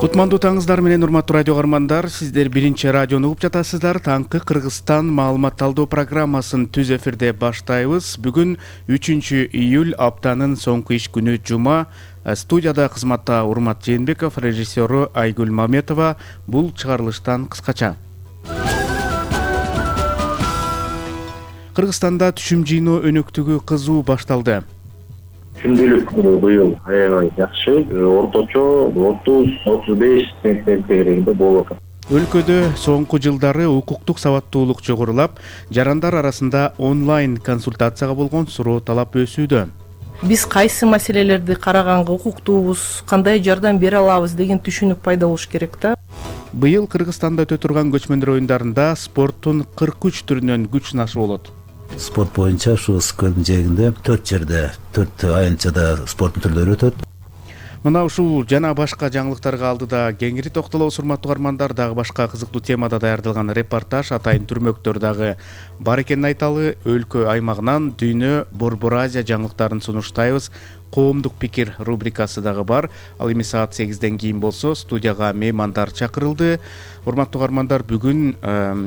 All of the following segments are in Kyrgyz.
Кутмандуу таңыңыздар менен урматтуу радио каармандар, сиздер биринчи радиону угуп жатасыздар. Таңкы Кыргызстан маалымат талдоо программасын түз эфирде баштайбыз. Бүгүн 3-июль, аптанын соңку иш күнү жума. Студияда кызматта Урмат Жээнбеков, режиссеру Айгүл Маметова. Бул чыгарылыштан кыскача. Кыргызстанда түшүм жыйноо өнөктүгү кызуу башталды. Күндүлүк быйыл аябай жакшы, орточо 30-35 центнер тегерегинде болуп атат. Өлкөдө соңку жылдары укуктук сабаттуулук жогорулап, жарандар арасында онлайн консультацияга болгон суроо талап өсүүдө. Биз кайсы маселелерди караганга укуктуубуз, кандай жардам бере алабыз деген түшүнүк пайда болуш керек да. Быйыл Кыргызстанда өтө турган көчмөндөр оюндарында спорттун 43 түрүнөн күч сынашы болот. Спорт боюнча ушу СКН жээгинде 4 жерде 4 аянтчада спорттун түрлөрү өтөт. Мына ушул жана башка жаңылыктарга алдыда кеңири токтолобуз, урматтуу каармандар. Дагы башка кызыктуу темада даярдалган репортаж, атайын түрмөктөр дагы бар экенин айталы. Өлкө аймагынан дүйнө Борбор Азия жаңылыктарын сунуштайбыз. Коомдук пикир рубрикасы дагы бар. Ал эми саат 8ден кийин болсо студияга меймандар чакырылды. Урматтуу каармандар, бүгүн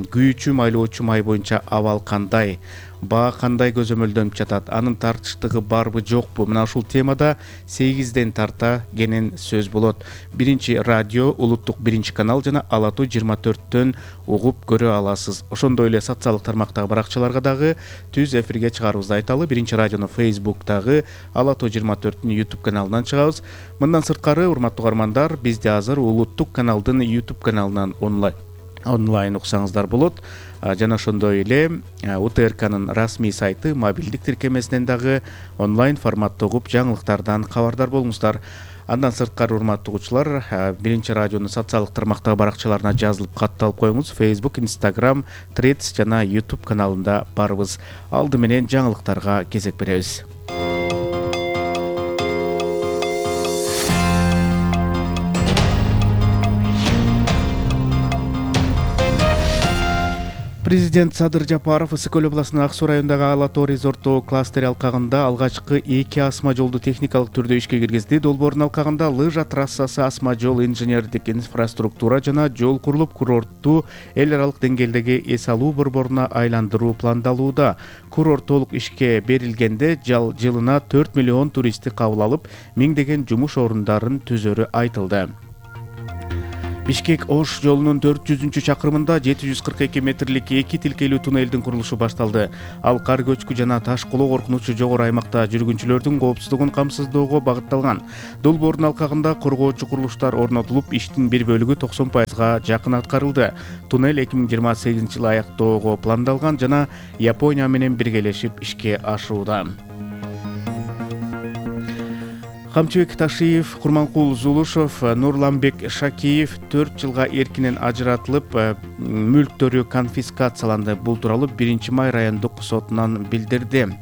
күйүүчү майлоочу май боюнча абал кандай? Баа кандай көзөмөлдөнүп жатат? Анын тартыштыгы барбы жокпу? Мына ушул темада 8ден тарта кенен сөз болот. Биринчи радио, улуттук биринчи канал жана Ала Тоо 24төн угуп көрө аласыз. Ошондой эле социалдык тармактагы баракчаларга дагы түз эфирге чыгарыбызды айталы. Биринчи радиону Facebook'тагы, Ала Тоо 24түн YouTube каналынан чыгабыз. Мындан сырткары, урматтуу каармандар, бизде азыр улуттук каналдын YouTube каналынан онлайн уксаңыздар болот. Жана ошондой эле УТРКнын расмий сайты, мобилдик тиркемесинен дагы онлайн форматта угуп жаңылыктардан кабардар болуңуздар. Андан сырткары, урматтуу угуучулар, биринчи радионун социалдык тармактагы баракчаларына жазылып катталып коюңуз. Facebook, Instagram, Threads жана YouTube каналында барбыз. Алды менен жаңылыктарга кезек беребиз. Президент Садыр Жапаров Ысык Көл областынын Ак Суу районундагы Ала Тоо резорттуу кластери алкагында алгачкы 2 асма жолду техникалык түрдө ишке киргизди. Долбоордун алкагында лыжа трассасы, асма жол, инженердик инфраструктура жана жол курулуп, курортту эл аралык деңгээлдеги эс алуу борборуна айландыруу пландалууда. Курорт толук ишке берилгенде жылына 4 миллион туристти кабыл алып, миңдеген жумуш орундарын түзөрү айтылды. Бишкек-Ош жолунун 400-чакырымында 742 метрлик 2 тилкелүү туннелдин курулушу башталды. Ал кар көчкү жана таш колоо коркунучу жогору аймакта жүргүнчүлөрдүн коопсуздугун камсыздоого багытталган. Долбоордун алкагында коргоочу курулуштар орнотулуп, иштин бир бөлүгү 90%га жакын аткарылды. Туннель 2028-жылы аяктоого пландалган жана Япония менен биргелешип ишке ашууда. Камчыбек Ташиев, Курманкул Зулушов, Нурланбек Шакиев 4 жылга эркинен ажыратылып, мүлктөрү конфискацияланды. Бул тууралуу 1-май райондук сотунан билдирди.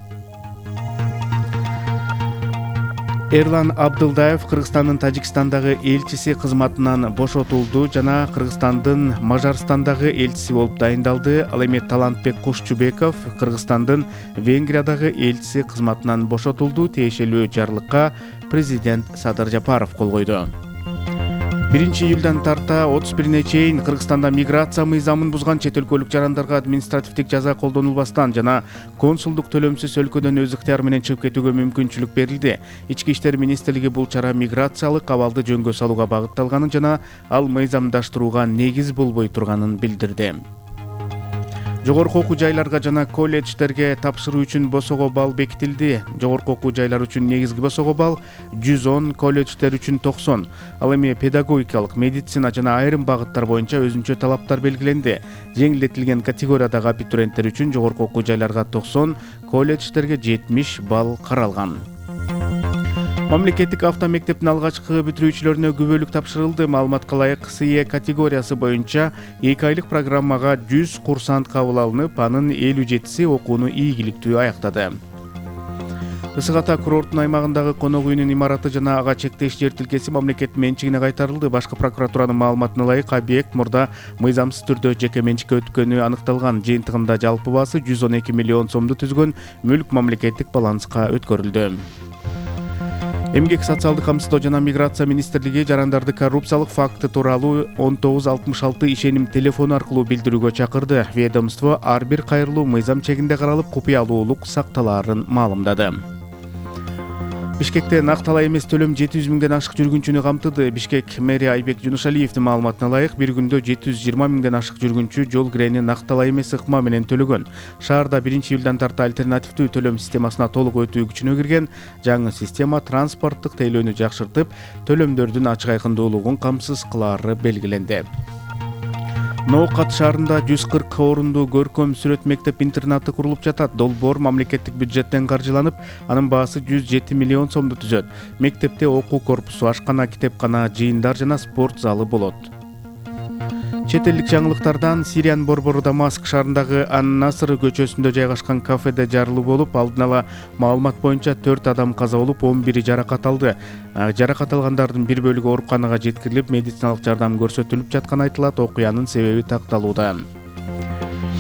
Эрлан Абдылдаев Кыргызстандын Тажикстандагы элчиси кызматынан бошотулду жана Кыргызстандын Мажарстандагы элчиси болуп дайындалды. Ал эми Талантбек Кушчубеков Кыргызстандын Венгриядагы элчиси кызматынан бошотулду. Тиешелүү жарлыкка президент Садыр Жапаров кол койду. 1-июлдан тарта 31-ине чейин Кыргызстанда миграция мыйзамын бузган чет өлкөлүк жарандарга административдик жаза колдонулбастан жана консулдук төлөмсүз өлкөдөн өз ыктыяры менен чыгып кетүүгө мүмкүнчүлүк берилди. Ички иштер министрлиги бул чара миграциялык абалды жөнгө салууга багытталганын жана ал мыйзамдаштырууга негиз болбой турганын билдирди. Жогорку окуу жайларга жана колледждерге тапшыруу үчүн босого балл бекитилди. Жогорку окуу жайлар үчүн негизги босого балл 110, колледждер үчүн 90. Ал эми педагогикалык, медицина жана айрым багыттар боюнча өзүнчө талаптар белгиленди. Жеңилдетилген категориядагы абитуриенттер үчүн жогорку окуу жайларга 90, колледждерге 70 балл каралган. Мамлекеттик автомектептин алгачкы бүтүрүүчүлөрүнө күбөлүк тапшырылды. Маалыматка ылайык, СИЭ категориясы боюнча 2 айлык программага 100 курсант кабыл алынып, анын 57си окууну ийгиликтүү аяктады. Ысык Ата курорттун аймагындагы конок үйүнүн имараты жана ага чектеш жер тилкеси мамлекет менчигине кайтарылды. Башкы прокуратуранын маалыматына ылайык, объект мурда мыйзамсыз түрдө жеке менчикке өткөнү аныкталган. Жыйынтыгында жалпы баасы 112 миллион сомду түзгөн мүлк мамлекеттик баланска өткөрүлдү. Эмгек социалдык камсыздоо жана миграция министрлиги жарандарды коррупциялык факты тууралуу 1966 ишеним телефону аркылуу билдирүүгө чакырды. Ведомство ар бир кайрылуу мыйзам чегинде каралып, купуялуулук сакталаарын маалымдады. Бишкекте накталай эмес төлөм 700 миңден ашык жүргүнчүнү камтыды. Бишкек мэри Айбек Жунушалиевдин маалыматына ылайык, бир күндө 720 миңден ашык жүргүнчү жол кирени накталай эмес ыкма менен төлөгөн. Шаарда 1-июлдан тарта альтернативдүү төлөм системасына толук өтүү күчүнө кирген. Жаңы система транспорттук тейлөөнү жакшыртып, төлөмдөрдүн ачык айкындуулугун камсыз кылаары белгиленди. Ноокат шаарында 140 орундуу көркөм сүрөт мектеп-интернаты курулуп жатат. Долбоор мамлекеттик бюджеттен каржыланып, анын баасы 107 миллион сомду түзөт. Мектепте окуу корпусу, ашкана, китепкана, жыйындар жана спорт залы болот. Чет элдик жаңылыктардан Сириянын борбору Дамаск шаарындагы Ан-Наср көчөсүндө жайгашкан кафеде жарылуу болуп, алдын ала маалымат боюнча 4 адам каза болуп, 11 жаракат алды. Жаракат алгандардын бир бөлүгү ооруканага жеткирилип, медициналык жардам көрсөтүлүп жатканы айтылат. Окуянын себеби такталууда.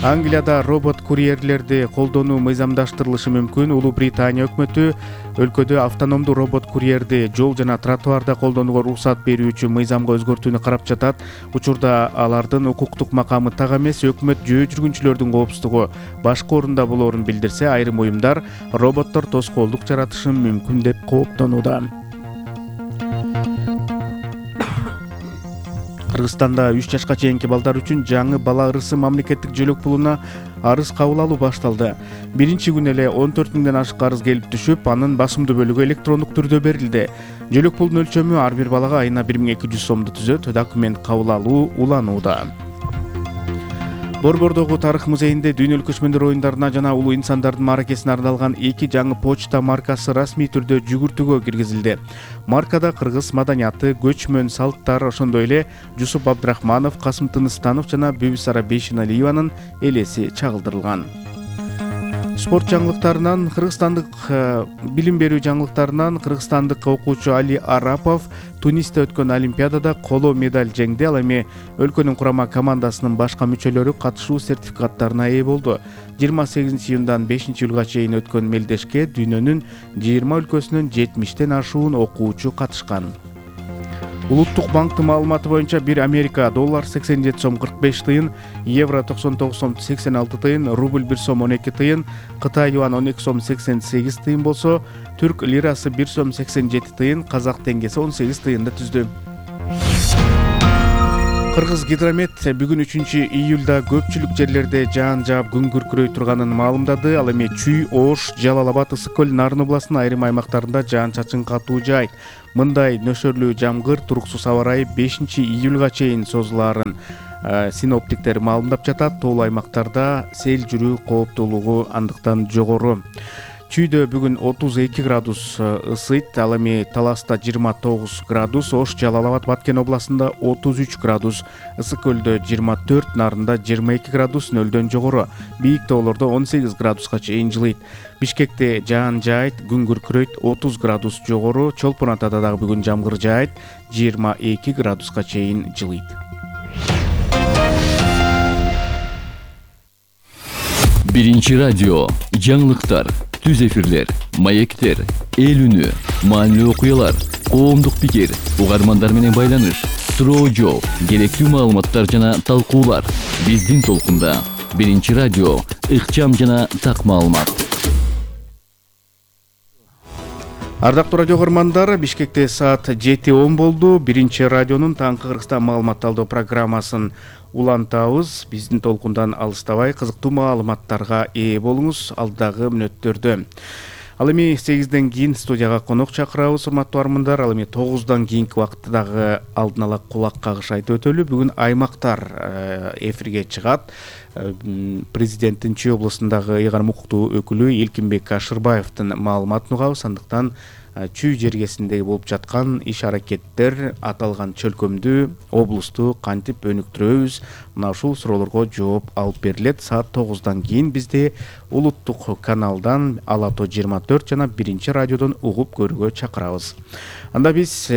Англияда робот-курьерлерди колдонуу мыйзамдаштырылышы мүмкүн. Улуу Британия өкмөтү өлкөдө автономдуу робот-курьерди жол жана тротуарда колдонууга уруксат берүүчү мыйзамга өзгөртүүнү карап жатат. Учурда алардын укуктук макамы так эмес. Өкмөт жөө жүргүнчүлөрдүн коопсуздугу башка орунда болоорун билдирсе, айрым уюмдар роботтор тоскоолдук жаратышы мүмкүн деп кооптонууда. Кыргызстанда 3 жашка чейинки балдар үчүн жаңы бала ырысы мамлекеттик жөлөк пулуна арыз кабыл алуу башталды. Биринчи күнү эле 14 миңден ашык арыз келип түшүп, анын басымдуу бөлүгү электрондук түрдө берилди. Жөлөк пулунун өлчөмү ар бир балага айына 1200 сомду түзөт. Документ кабыл алуу уланууда. Борбордогу тарых музейинде дүйнөлүк көчмөндөр оюндарына жана улуу инсандардын мааракесине арналган 2 жаңы почта маркасы расмий түрдө жүгүртүүгө киргизилди. Маркада кыргыз маданияты, көчмөн салттар, ошондой эле Жусуп Абдрахманов, Касым Тыныстанов жана Бүбүсара Бейшеналиеванын элеси чагылдырылган. Спорт жаңылыктарынан кыргызстандык билим берүү жаңылыктарынан кыргызстандык окуучу Али Арапов Тунисте өткөн Олимпиадада коло медаль жеңди. Ал эми өлкөнүн курама командасынын башка мүчөлөрү катышуу сертификаттарына ээ болду. 28-июндан 5-июлга чейин өткөн мелдешке дүйнөнүн 20 өлкөсүнөн 70тен ашуун окуучу катышкан. Улуттук банктын маалыматы боюнча $1 Америка доллар 87 сом 45 тыйын, евро 99 сом 86 тыйын, рубль 1 сом 12 тыйын, Кытай юан 12 сом 88 тыйын болсо, түрк лирасы 1 сом 87 тыйын, казак теңгеси 18 тыйынды түздү. Кыргыз гидромет бүгүн 3-июлда көпчүлүк жерлерде жаан жаап күн күркүрөй турганын маалымдады. Ал эми Чүй, Ош, Жалал Абад, Ысык көл, Нарын областынын айрым аймактарында жаан-чачын катуу жай. Мындай нөшөрлүү жамгыр, туруксуз аба ырайы 5-июлга чейин созулаарын синоптиктер маалымдап жатат. Тоолуу аймактарда сел жүрүү кооптуулугу андыктан жогору. Чүйдө бүгүн 32 градус ысыйт, ал эми Таласта 29 градус, Ош, Жалал Абад, Баткен областында 33 градус, Ысык көлдө 24, Нарында 22 градус, нөлдөн жогору, бийик тоолордо 18 градуска чейин жылыйт. Бишкекте жаан жаайт, күн күркүрөйт, 30 градус жогору, Чолпон Атада дагы бүгүн жамгыр жаайт, 22 градуска чейин жылыйт. Биринчи радио, жаңылыктар, түз эфирлер, маектер, эл үнү, маанилүү окуялар, коомдук пикир, угармандар менен байланыш, суроо жооп, керектүү маалыматтар жана талкуулар. Биздин толкунда Биринчи радио, ыкчам жана так маалымат. Ардактуу радио көрөрмандар, Бишкекте саат 7:10 болду. Биринчи радионун таңкы Кыргызстан маалымат алуу программасын улантабыз. Биздин толкундан алыстабай кызыктуу маалыматтарга ээ болуңуз алдагы мүнөттөрдө. Ал эми 8ден кийин студияга конок чакырабыз, урматтуу армандар. Ал эми 9дан кийинки убакытта дагы алдын ала кулак кагыш айтып өтөлү. Бүгүн аймактар эфирге чыгат. Президенттин Чүй областындагы ыйгарым укуктуу өкүлү Элкинбек Ашырбаевдин маалыматын угабыз. Андыктан Чүй жергесиндеги болуп жаткан иш-аракеттер, аталган чөлкөмдү, облусту кантип өнүктүрөбүз? Мына ушул суроолорго жооп алып берилет. Саат 9дан кийин бизди улуттук каналдан Ала-Тоо 24 жана Биринчи радиодон угуп көрүүгө чакырабыз. Анда биз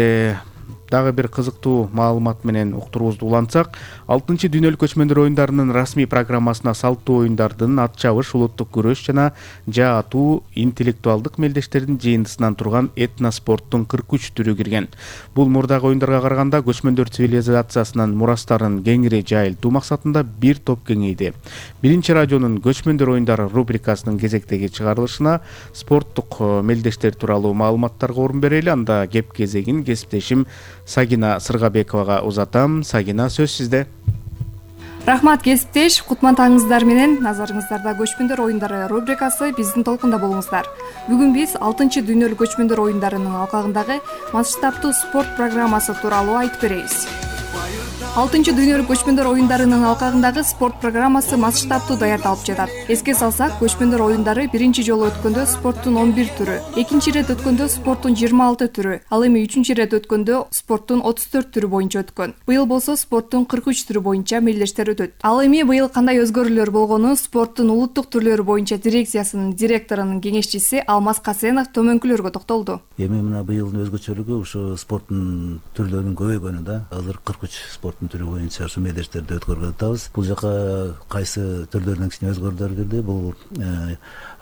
Дагы бир кызыктуу маалымат менен уктуруубузду улантсак, 6 дүйнөлүк көчмөндөр оюндарынын расмий программасына салттуу оюндардын, ат чабыш, улуттук күрөш жана жаа атуу, интеллектуалдык мелдештердин жыйындысынан турган этноспорттун 43 түрү кирген. Бул мурдагы оюндарга караганда көчмөндөр цивилизациясынын мурастарын кеңири жайылтуу максатында бир топ кеңейди. Биринчи радионун көчмөндөр оюндары рубрикасынын кезектеги чыгарылышына спорттук мелдештер тууралуу маалыматтарга орун берели. Анда кеп кезегин кесиптешим Сагина Сыргабековага узатам. Сагина, сөз сизде. Рахмат кесиптеш, кутмандыгыңыздар менен назарыңыздарда көчмөндөр оюндары рубрикасы биздин толкунда болуңуздар. Бүгүн биз 6 дүйнөлүк көчмөндөр оюндарынын алкагындагы масштабтуу спорт программасы тууралуу айтып беребиз. 6 дүйнөлүк көчмөндөр оюндарынын алкагындагы спорт программасы масштабтуу даярдалып жатат. Эске салсак, көчмөндөр оюндары биринчи жолу өткөндө спорттун 11 түрү, экинчи ирет өткөндө спорттун 26 түрү, ал эми үчүнчү ирет өткөндө спорттун 34 түрү боюнча өткөн. Быйыл болсо спорттун 43 түрү боюнча мелдештер өтөт. Ал эми быйыл кандай өзгөрүүлөр болгону спорттун улуттук түрлөрү боюнча дирекциясынын директорунун кеңешчиси Алмаз Касенов төмөнкүлөргө токтолду. Эми мына быйылдын өзгөчөлүгү ушу спорттун түрлөрүнүн көбөйгөнү да. Азыр 43 спорттун түрү боюнча ушу мелдештерди өткөрүп атабыз. Бул жака кайсы түрлөрүнөн кичине өзгөрүүлөр кирди. Бул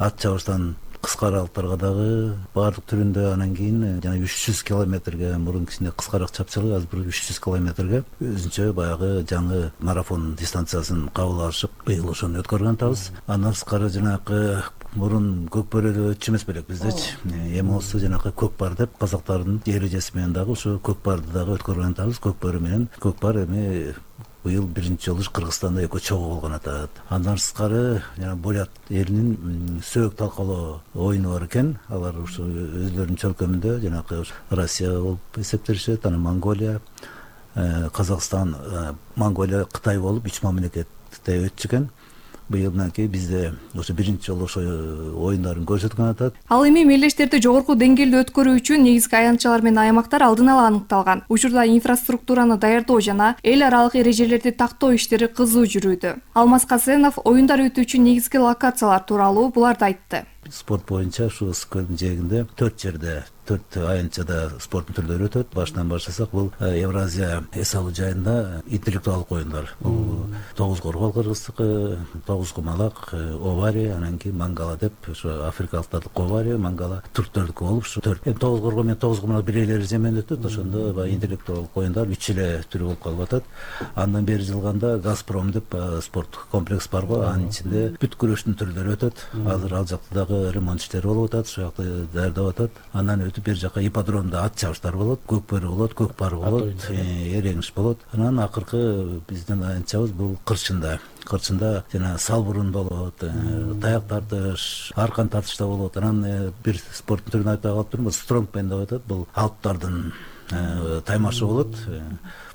ат чабыштан кыска аралыктарга дагы баардык түрүндө, анан кийин жана 300 километрге, мурун кичине кыскараак чапчылык, азыр 300 километрге өзүнчө баягы жаңы марафон дистанциясын кабыл алышып, быйыл ошону өткөргөн атабыз. Андан сырткары жанагы мурун көкбөрөдө өтчү эмес белек биздечи. Эми болсо жанагы көкпар деп казактардын эрежеси менен дагы ошо көкпарды дагы өткөргөн атабыз. Көкбөрү менен көкпар эми быйыл биринчи жолу Кыргызстанда экөө чогуу болгон атат. Андан сырткары жана Болят элинин сөөк талкалоо оюну бар экен. Алар ушу өзлөрүнүн чөлкөмүндө жанагы Россия болуп эсептелишет, анан Монголия, Казакстан, Монголия, Кытай болуп 3 мамлекетте өтчү экен. Быйыл мынакей бизде ошо биринчи жолу ошо оюндарын көрсөткөн атат. Ал эми мелдештерди жогорку деңгээлде өткөрүү үчүн негизги аянтчалар менен аймактар алдын ала аныкталган. Учурда инфраструктураны даярдоо жана эл аралык эрежелерди тактоо иштери кызуу жүрүүдө. Алмаз Касенов оюндар өтүүчү негизги локациялар тууралуу буларды айтты. Спорт боюнча ушу Ысык көлдүн жээгинде 4 жерде, 4 аянтчада спорттун түрлөрү өтөт. Башынан баштасак, бул Евразия эс алуу жайында интеллектуалдык оюндар. Бул 9 коргол кыргыздыкы, 9 кумалак, овари, анан кийин мангала деп, ошо африкалыктардын овари, мангала түрктөрдүкү болуп, ушу 4. 9 коргол менен 9 кумалак бир эле эреже менен өтөт. Ошондо баягы интеллектуалдык оюндар 3 эле түрү болуп калып атат. Андан бери жылганда Газпром деп спорт комплекс бар го, анын ичинде бүт күрөштүн түрлөрү өтөт. Азыр ал жакта дагы ремонт иштери болуп атат, ошол жакта даярдап атат. Андан өтүп бер жака ипподромдо ат чабыштар болот, көкбөрү болот, көкпар болот, эреңиш болот. Анан акыркы биздин аянтчабыз бул Кырчында. Кырчында жана салбурун болот, таяк тартыш, аркан тартышта болот. Анан бир спорттун түрүн айтпай калып турмун, стронгмен деп атат. Бул алптардын таймашы болот.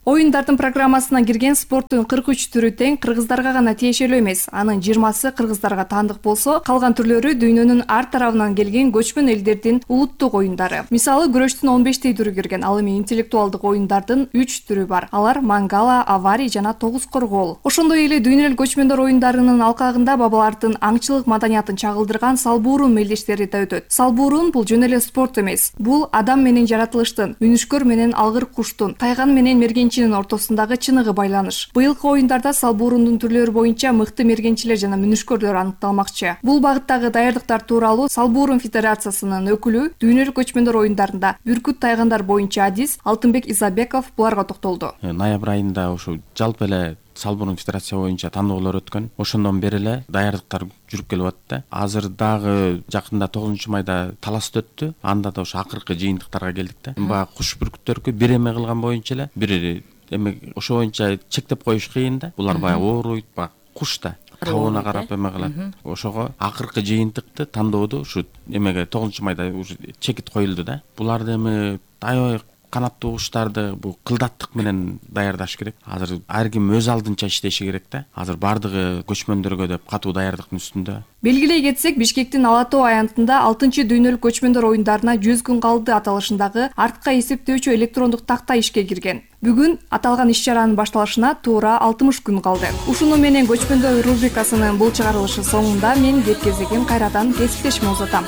Оюндардын программасына кирген спорттун 43 түрү тең кыргыздарга гана тиешелүү эмес. Анын 20сы кыргыздарга таандык болсо, калган түрлөрү дүйнөнүн ар тарабынан келген көчмөн элдердин улуттук оюндары. Мисалы, күрөштүн 15 түрү кирген. Ал эми интеллектуалдык оюндардын 3 түрү бар. Алар мангала, авари жана 9 коргол. Ошондой эле дүйнөлүк көчмөндөр оюндарынын алкагында бабалардын аңчылык маданиятын чагылдырган салбуурун мелдештери да өтөт. Салбуурун бул жөн эле спорт эмес. Бул адам менен жаратылыштын, үнүшкөр менен алгыр куштун, тайган менен мергенчи ортосундагы чыныгы байланыш. Быйылкы оюндарда салбуурундун түрлөрү боюнча мыкты мергенчилер жана мүнүшкөрлөр аныкталмакчы. Бул багыттагы даярдыктар тууралуу Салбуурун федерациясынын өкүлү дүйнөлүк көчмөндөр оюндарында бүркүт тайгандар боюнча адис Алтынбек Изабеков буларга токтолду. Ноябрь айында ушу жалпы эле Салбурун федерация боюнча тандоолор өткөн. Ошондон бери эле даярдыктар жүрүп келип атты. Азыр дагы жакында 9-майда талас өттү. Анда да ошо акыркы жыйынтыктарга келдик да. Баягы куш бүркүттөргө бир эме кылган боюнча эле, бир эме ошо боюнча чектеп коюш кыйын да. Булар баягы ооруйт, баягы куш да. Табууна карап эме кылат. Ошого акыркы жыйынтыкты тандоодо ушу эмеге 9-майда уже чекит коюлду да. Буларды эми аябай канаттуу куштарды бул кылдаттык менен даярдаш керек. Азыр ар ким өз алдынча иштеши керек да. Азыр бардыгы көчмөндөргө деп катуу даярдыктын үстүндө. Белгилей кетсек, Бишкектин Ала Тоо аянтында 6-дүйнөлүк көчмөндөр оюндарына 100 күн калды аталышындагы артка эсептөөчү электрондук такта ишке кирген. Бүгүн аталган иш-чаранын башталышына туура 60 күн калды. Ушуну менен көчмөндөр рубрикасынын бул чыгарылышы соңунда мен кеп кезегин кайрадан кесиптешиме узатам.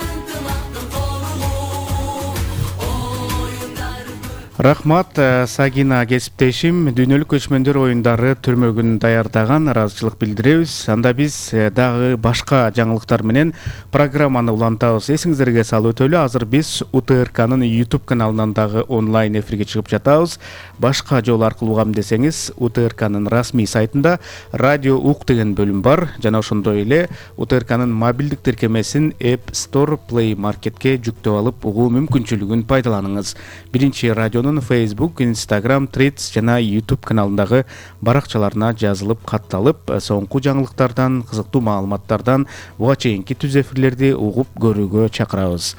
Рахмат, Сагина кесиптешим. Дүйнөлүк көчмөндөр оюндары түрмөгүн даярдаган, ыраазычылык билдиребиз. Анда биз дагы башка жаңылыктар менен программаны улантабыз. Эсиңиздерге салып өтөлү, азыр биз УТРКнын YouTube каналынан дагы онлайн эфирге чыгып жатабыз. Башка жол аркылуу угам десеңиз, УТРКнын расмий сайтында радио ук деген бөлүм бар. Жана ошондой эле УТРКнын мобилдик тиркемесин App Store, Play Marketке жүктөп алып угуу мүмкүнчүлүгүн пайдаланыңыз. Биринчи радионун Facebook, Instagram, Threads жана YouTube каналындагы баракчаларына жазылып катталып, соңку жаңылыктардан, кызыктуу маалыматтардан буга чейинки түз эфирлерди угуп көрүүгө чакырабыз.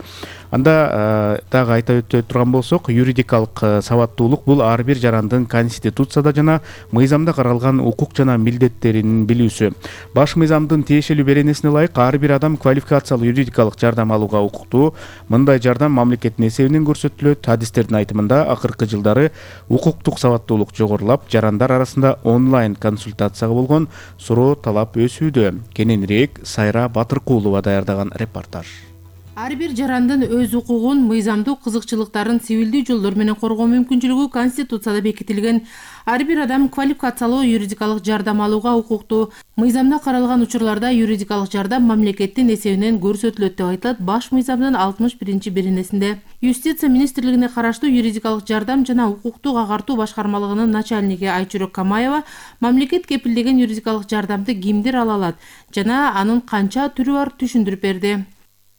Анда дагы айта өтө турган болсок, юридикалык сабаттуулук бул ар бир жарандын Конституцияда жана мыйзамда каралган укук жана милдеттерин билүүсү. Баш мыйзамдын тиешелүү беренесине ылайык ар бир адам квалификациялуу юридикалык жардам алууга укуктуу. Мындай жардам мамлекеттин эсебинен көрсөтүлөт. Адистердин айтымында акыркы жылдары укуктук сабаттуулук жогорулап, жарандар арасында онлайн консультацияга болгон суроо талап өсүүдө. Кененирээк Сайра Батыркулова даярдаган репортаж. Ар бир жарандын өз укугун, мыйзамдуу кызыкчылыктарын цивилдүү жолдор менен коргоо мүмкүнчүлүгү Конституцияда бекитилген. Ар бир адам квалификациялуу юридикалык жардам алууга укуктуу. Мыйзамда каралган учурларда юридикалык жардам мамлекеттин эсебинен көрсөтүлөт деп айтылат баш мыйзамдын 61-беренесинде. Юстиция министрлигине караштуу юридикалык жардам жана укуктук агартуу башкармалыгынын начальниги Айчүрөк Камаева мамлекет кепилдеген юридикалык жардамды кимдер ала алат жана анын канча түрү бар түшүндүрүп берди.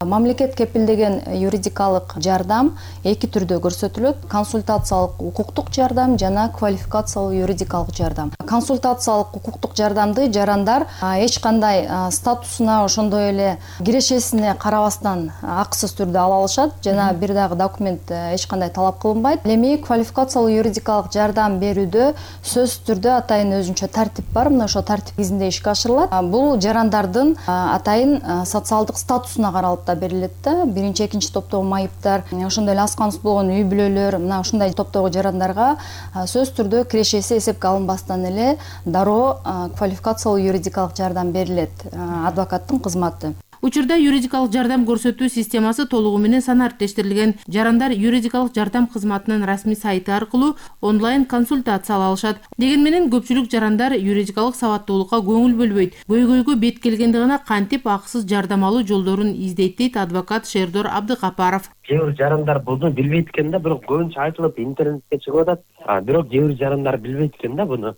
Мамлекет кепилдеген юридикалык жардам эки түрдө көрсөтүлөт: консультациялык укуктук жардам жана квалификациялуу юридикалык жардам. Консультациялык укуктук жардамды жарандар эч кандай статусуна, ошондой эле кирешесине карабастан акысыз түрдө ала алышат жана бир дагы документ эч кандай талап кылынбайт. Эми квалификациялуу юридикалык жардам берүүдө сөзсүз түрдө атайын өзүнчө тартип бар. Мына ошо тартип негизинде ишке ашырылат. Бул жарандардын атайын социалдык статусуна каралып берилет да. Биринчи, экинчи топтогу майыптар, ошондой эле аз камсыз болгон үй бүлөлөр, мына ушундай топтогу жарандарга сөзсүз түрдө кирешеси эсепке алынбастан эле дароо квалификациялуу юридикалык жардам берилет, адвокаттын кызматы. Учурда юридикалык жардам көрсөтүү системасы толугу менен санариптештирилген. Жарандар юридикалык жардам кызматынын расмий сайты аркылуу онлайн консультация ала алышат. Деген менен көпчүлүк жарандар юридикалык сабаттуулукка көңүл бөлбөйт. Көйгөйгө бет келгенде гана кантип акысыз жардам алуу жолдорун издейт дейт адвокат Шердор Абдыкапаров. Кээ бир жарандар буну билбейт экен да, бирок көбүнчө айтылып интернетке чыгып атат. Бирок кээ бир жарандар билбейт экен да буну.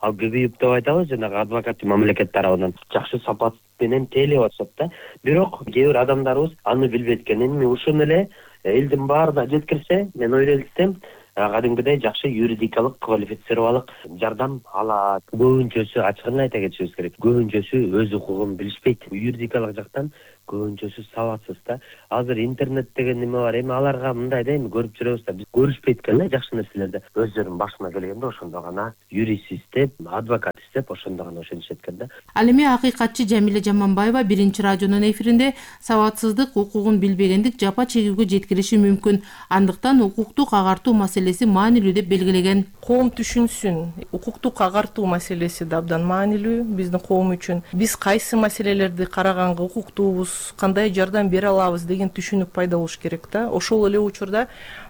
Ал көбөйүп деп айтабыз, жанагы адвокаттын мамлекет тарабынан жакшы сапат менен тейлеп атышат да. Бирок кээ бир адамдарыбыз аны билбейт экен. Эми ушуну эле элдин баарына жеткирсе, мен ойлойм, кадимгидей жакшы юридикалык квалифицировалык жардам алат. Көбүнчөсү, ачыгын айта кетишибиз керек, көбүнчөсү өз укугун билишпейт. Юридикалык жактан көбүнчөсү сабатсыз да. Азыр интернет деген неме бар, эми аларга мындай да, эми көрүп жүрөбүз да, биз көрүшпөйт экен да жакшы нерселерди. Өздөрүнүн башына келгенде ошондо гана юрист издеп, адвокат издеп, ошондо гана ошентишет экен да. Ал эми акыйкатчы Жамиле Жаманбаева биринчи радионун эфиринде сабатсыздык укугун билбегендик жапа чегүүгө жеткириши мүмкүн. Андыктан укуктук агартуу маселеси маанилүү деп белгилеген. Коом түшүнсүн, укуктук агартуу маселеси да абдан маанилүү биздин коом үчүн. Биз кайсы маселелерди караганга укуктуубуз, кандай жардам бере алабыз деген түшүнүк пайда болуш керек да. Ошол эле учурда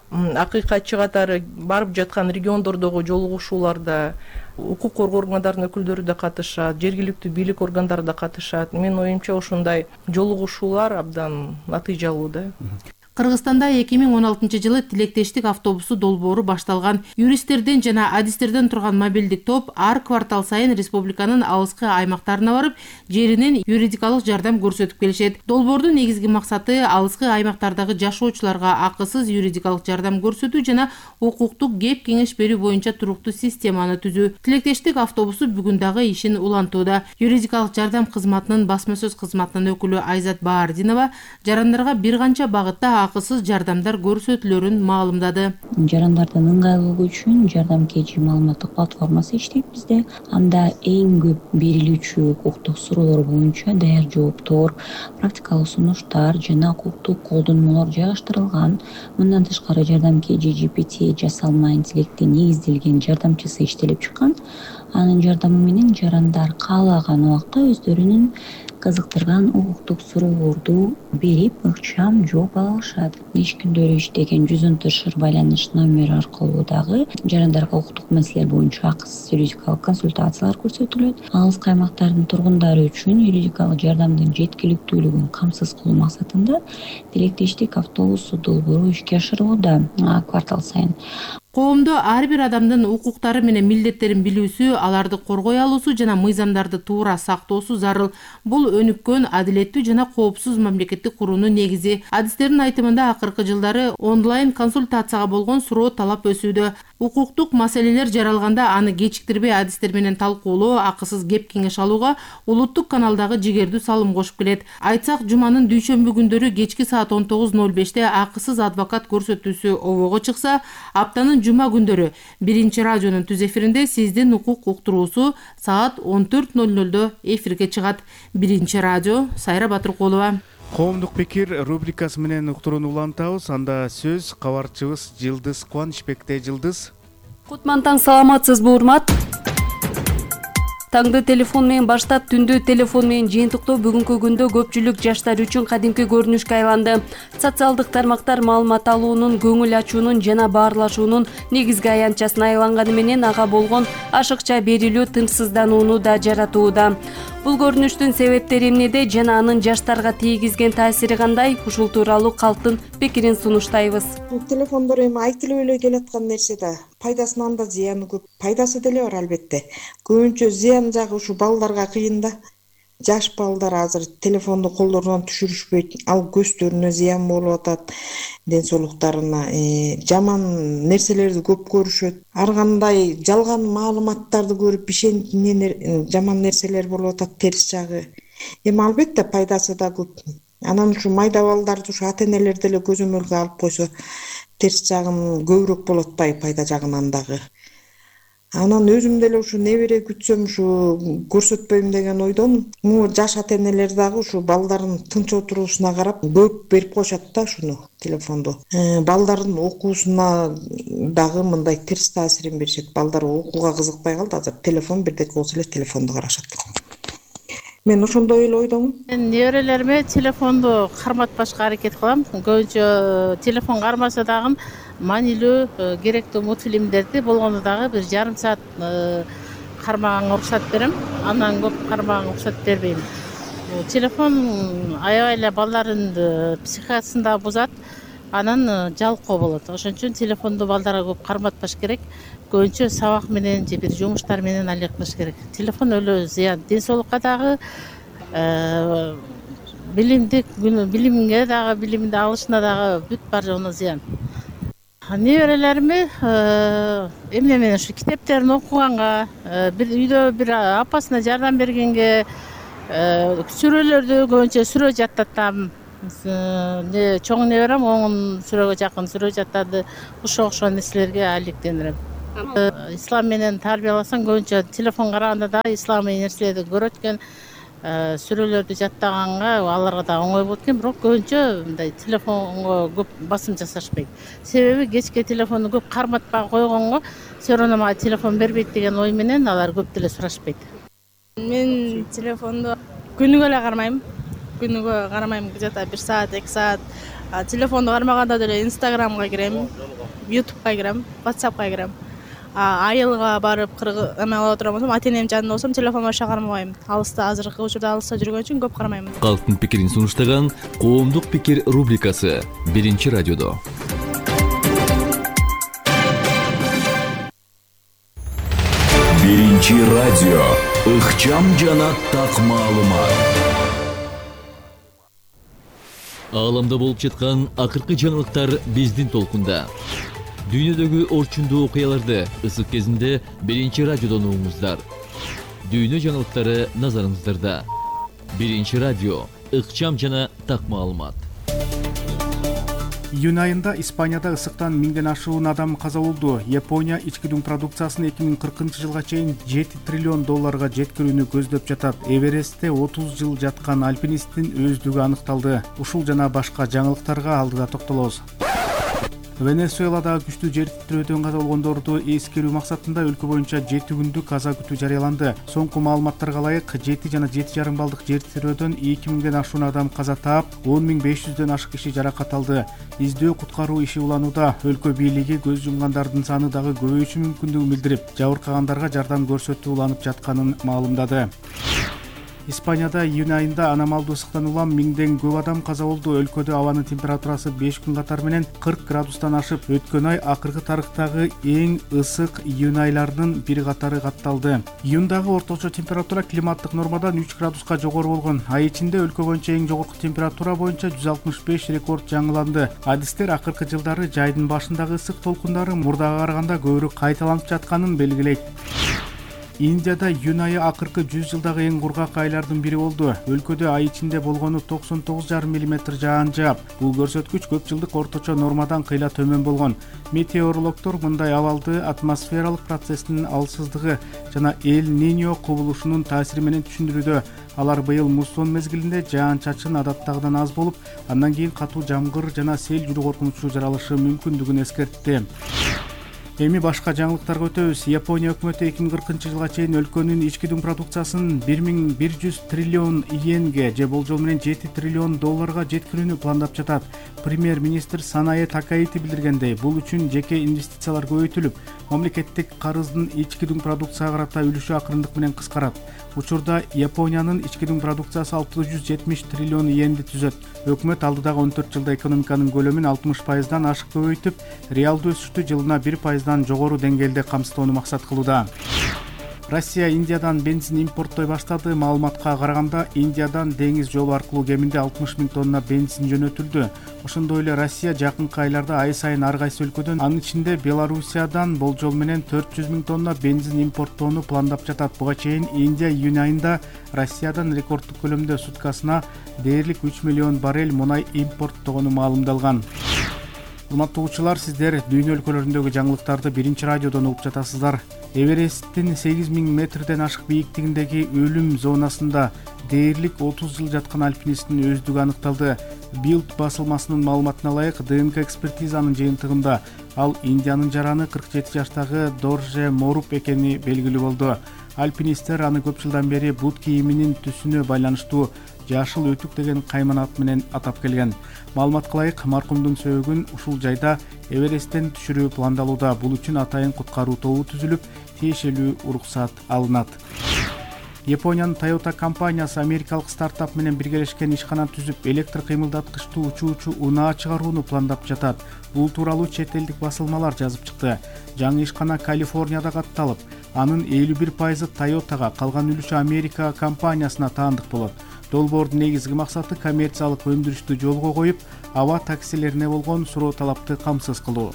акыйкатчы катары барып жаткан региондордогу жолугушууларда укук коргоо органдарынын өкүлдөрү да катышат, жергиликтүү бийлик органдары да катышат. Менин оюмча ушундай жолугушуулар абдан натыйжалуу да. Кыргызстанда 2016-жылы тилектештик автобусу долбоору башталган. Юристтерден жана адистерден турган мобилдик топ ар квартал сайын республиканын алыскы аймактарына барып, жеринен юридикалык жардам көрсөтүп келишет. Долбоордун негизги максаты алыскы аймактардагы жашоочуларга акысыз юридикалык жардам көрсөтүү жана укуктук кеп кеңеш берүү боюнча туруктуу системаны түзүү. Тилектештик автобусу бүгүн дагы ишин улантууда. Юридикалык жардам кызматынын басма сөз кызматынын өкүлү Айзат Баардинова жарандарга бир канча багытта акысыз жардамдар көрсөтүлөрүн маалымдады. Жарандардын ыңгайлуулугу үчүн жардам KG маалыматтык платформасы иштейт бизде. Анда эң көп берилүүчү укуктук суроолор боюнча даяр жооптор, практикалык сунуштар жана укуктук колдонмолор жайгаштырылган. Мындан тышкары жардам KG GPT жасалма интеллектке негизделген жардамчысы иштелип чыккан. Анын жардамы менен жарандар каалаган убакта өздөрүнүн кызыктырган укуктук суроолорду берип ыкчам жооп ала алышат. Иш күндөрү иштеген 114 байланыш номери аркылуу дагы жарандарга укуктук маселелер боюнча акысыз юридикалык консультациялар көрсөтүлөт. Алыскы аймактардын тургундары үчүн юридикалык жардамдын жеткиликтүүлүгүн камсыз кылуу максатында тилектештик автобусу долбоору ишке ашырылууда квартал сайын. Коомдо ар бир адамдын укуктары менен милдеттерин билүүсү, аларды коргой алуусу жана мыйзамдарды туура сактоосу зарыл. Бул өнүккөн, адилеттүү жана коопсуз мамлекетти куруунун негизи. Адистердин айтымында акыркы жылдары онлайн консультацияга болгон суроо талап өсүүдө. Укуктук маселелер жаралганда аны кечиктирбей адистер менен талкуулоо, акысыз кеп кеңеш алууга улуттук каналдагы жигердүү салым кошуп келет. Айтсак, жуманын дүйшөмбү күндөрү кечки саат 19:05 акысыз адвокат көрсөтүүсү обого чыкса, аптанын жума күндөрү биринчи радионун түз эфиринде сиздин укук уктуруусу саат 14:00 эфирге чыгат. Биринчи радио, Сайра Батыркулова. Коомдук пикир рубрикасы менен уктурууну улантабыз. Анда сөз кабарчыбыз Жылдыз Кубанычбекте. Жылдыз. Кутман таң, саламатсызбы урмат? Таңды телефон менен баштап түндү телефон менен жыйынтыктоо бүгүнкү күндө көпчүлүк жаштар үчүн кадимки көрүнүшкө айланды. Социалдык тармактар маалымат алуунун, көңүл ачуунун жана баарлашуунун негизги аянтчасына айланганы менен ага болгон ашыкча берилүү тынчсызданууну да жаратууда. Бул көрүнүштүн себептери эмнеде жана анын жаштарга тийгизген таасири кандай? Ушул тууралуу калктын пикирин сунуштайбыз. Телефондор эми айтылып эле келаткан нерсе да. Пайдасынан да зыяны көп. Пайдасы деле бар албетте. Көбүнчө зыян жагы ушу балдарга кыйын да. Жаш балдар азыр телефонду колдорунан түшүрүшпөйт. Ал көздөрүнө зыян болуп атат, ден соолуктарына. Жаман нерселерди көп көрүшөт. Ар кандай жалган маалыматтарды көрүп жаман нерселер болуп атат, терс жагы. Эми албетте пайдасы да көп. Анан ушу майда балдарды ушу ата-энелер деле көзөмөлгө алып койсо, терс жагын көбүрөөк болот атпайбы, пайда жагынан дагы. Анан өзүм деле ушу небере күтсөм ушу көрсөтпөйм деген ойдомун. Могу жаш ата-энелер дагы ушу балдарын тынч отуруусуна карап көп берип коюшат да ушуну телефонду. Балдардын окуусуна дагы мындай терс таасирин беришет. Балдар окууга кызыкпай калды, азыр телефон бирдеке болсо эле телефонду карашат. Мен ошондой эле ойдомун. Мен неберелериме телефонду карматпашка аракет кылам. Көбүнчө телефон кармаса дагы маанилүү, керектүү мультфильмдерди болгону дагы 1,5 саат кармаганга уруксат берем. Андан көп кармаганга уруксат бербейм. Телефон аябай эле балдардын психикасын да бузат, анан жалкоо болот. Ошон үчүн телефонду балдарга көп карматпаш керек. Көбүнчө сабак менен же бир жумуштар менен алек кылыш керек. Телефон өлө зыян, ден соолукка дагы, билимге дагы, билимди алышына дагы бүт бар жону зыян. Неберелериме эмне менен ушу китептерин окуганга, бир үйдө бир апасына жардам бергенге, сүрөлөрдү көбүнчө сүрө жаттатам. Чоң неберем оңун сүрөгө жакын сүрө жаттады. Ушуга окшогон нерселерге алектениrim. Ислам менен тарбияласаң көбүнчө телефон караганда да исламий нерселерди көрөт экен, сүрөлөрдү жаттаганга аларга да оңой болот экен, бирок көбүнчө мындай телефонго көп басым жасашпайт. Себеби кечке телефонду көп карматпай койгонго все равно мага телефон бербейт деген ой менен алар көп деле сурашпайт. Мен телефонду күнүгө эле кармайм. Күнүгө кармайм, где-то 1 саат, 2 саат. Телефонду кармаганда деле Инстаграмга кирем, Ютубка кирем, WhatsAppка кирем. Айылга барып эме алып отурам болсом, ата-энем жанында болсом телефон баша кармабайм. Алыста, азыркы учурда алыста жүргөн үчүн көп кармайм. Калктын пикирин сунуштаган Коомдук пикир рубрикасы биринчи радиодо. Биринчи радио, ыкчам жана так маалымат. Ааламда болуп жаткан акыркы жаңылыктар биздин толкунда. Дүйнөдөгү орчундуу окуяларды ысык кезинде биринчи радиодон угуңуздар. Дүйнө жаңылыктары назарыңыздарда. Биринчи радио, ыкчам жана так маалымат. Июнь айында Испанияда ысыктан 1000ден ашуун адам каза болду. Япония ички дүң продукциясын 2040 жылга чейин $7 триллион жеткирүүнү көздөп жатат. Эверестте 30 жыл жаткан альпинисттин өздүгү аныкталды. Ушул жана башка жаңылыктарга алдыда токтолобуз. Венесуэладагы күчтүү жер титирөөдөн каза болгондорду эскерүү максатында өлкө боюнча 7 күндүк каза күтүү жарыяланды. Соңку маалыматтарга ылайык 7 жана 7,5 баллдык жер титирөөдөн 2000ден ашуун адам каза таап, 10.500дөн ашык киши жаракат алды. Издөө куткаруу иши уланууда. Өлкө бийлиги көз жумгандардын саны дагы көбөйүшү мүмкүндүгүн билдирип, жабыркагандарга жардам көрсөтүү уланып жатканын маалымдады. Испанияда июнь айында аномалдуу ысыктан улам 1000ден көп адам каза болду. Өлкөдө абанын температурасы 5 күн катары менен 40 градустан ашып, өткөн ай акыркы тарыхтагы эң ысык июнь айларынын бири катары катталды. Июндагы орточо температура климаттык нормадан 3 градуска жогору болгон. Ай ичинде өлкө боюнча эң жогорку температура боюнча 165 рекорд жаңыланды. Адистер акыркы жылдары жайдын башындагы ысык толкундары мурдага караганда көбүрөөк кайталанып жатканын белгилейт. Индияда июнь айы акыркы 100 жылдагы эң кургак айлардын бири болду. Өлкөдө ай ичинде болгону 99,5 мм жаан жаап. Бул көрсөткүч көп жылдык орточо нормадан кыйла төмөн болгон. Метеорологдор мындай абалды атмосфералык процесстин алсыздыгы жана Эль-Ниньо кубулушунун таасири менен түшүндүрүүдө. Алар быйыл муссон мезгилинде жаан-чачын адаттагыдан аз болуп, андан кийин катуу жамгыр жана сел жүрүү коркунучу жаралышы мүмкүндүгүн эскертти. Эми башка жаңылыктарга өтөбүз. Япония өкмөтү 2040-жылга чейин өлкөнүн ички дүң продукциясын 1100 триллион йенге же болжол менен 7 триллион долларга жеткирүүнү пландап жатат. Премьер-министр Санае Такаити билдиргендей, бул үчүн жеке инвестициялар көбөйтүлүп, мамлекеттик карыздын ички дүң продукцияга карата үлүшү акырындык менен кыскарат. Учурда Япониянын ички дүң продукциясы 670 триллион йенди түзөт. Өкмөт алдыдагы 14 жылда экономиканын көлөмүн 60%дан ашык көбөйтүп, реалдуу өсүштү жылына 1%дан жогору деңгээлде камсыздоону максат кылууда. Россия Индиядан бензин импорттой баштады. Маалыматка караганда, Индиядан деңиз жолу аркылуу кеминде 60 000 тонна бензин жөнөтүлдү. Ошондой эле Россия жакынкы айларда ай сайын ар кайсы өлкөдөн, анын ичинде Белоруссиядан болжол менен 400 000 тонна бензин импорттоону пландап жатат. Буга чейин Индия июнь айында Россиядан рекорддук көлөмдө суткасына дээрлик 3 миллион баррель мунай импорттогону маалымдалган. Урматтуу угуучулар, сиздер дүйнө өлкөлөрүндөгү жаңылыктарды Биринчи радиодон угуп жатасыздар. Эвересттин 8000 метрден ашык бийиктигиндеги өлүм зонасында дээрлик 30 жыл жаткан альпинисттин өздүгү аныкталды. Билд басылмасынын маалыматына ылайык, ДНК экспертизанын жыйынтыгында ал Индиянын жараны 47 жаштагы Дорже Моруп экени белгилүү болду. Альпинисттер аны көп жылдан бери бут кийиминин түсүнө байланыштуу жашыл өтүк деген кайманат менен атап келген. Маалыматка ылайык, маркумдун сөөгүн ушул жайда Эвересттен түшүрүү пландалууда. Бул үчүн атайын куткаруу тобу түзүлүп, тиешелүү уруксат алынат. Япониянын Toyota компаниясы америкалык стартап менен биргелешкен ишкана түзүп, электр кыймылдаткычтуу учуучу унаа чыгарууну пландап жатат. Бул тууралуу чет элдик басылмалар жазып чыкты. Жаңы ишкана Калифорнияда катталып, анын 51% Toyota'га, калган үлүшү Америка компаниясына таандык болот. Долбоордун негизги максаты коммерциялык өндүрүштү жолго коюп, аба таксилерине болгон суроо талапты камсыз кылуу.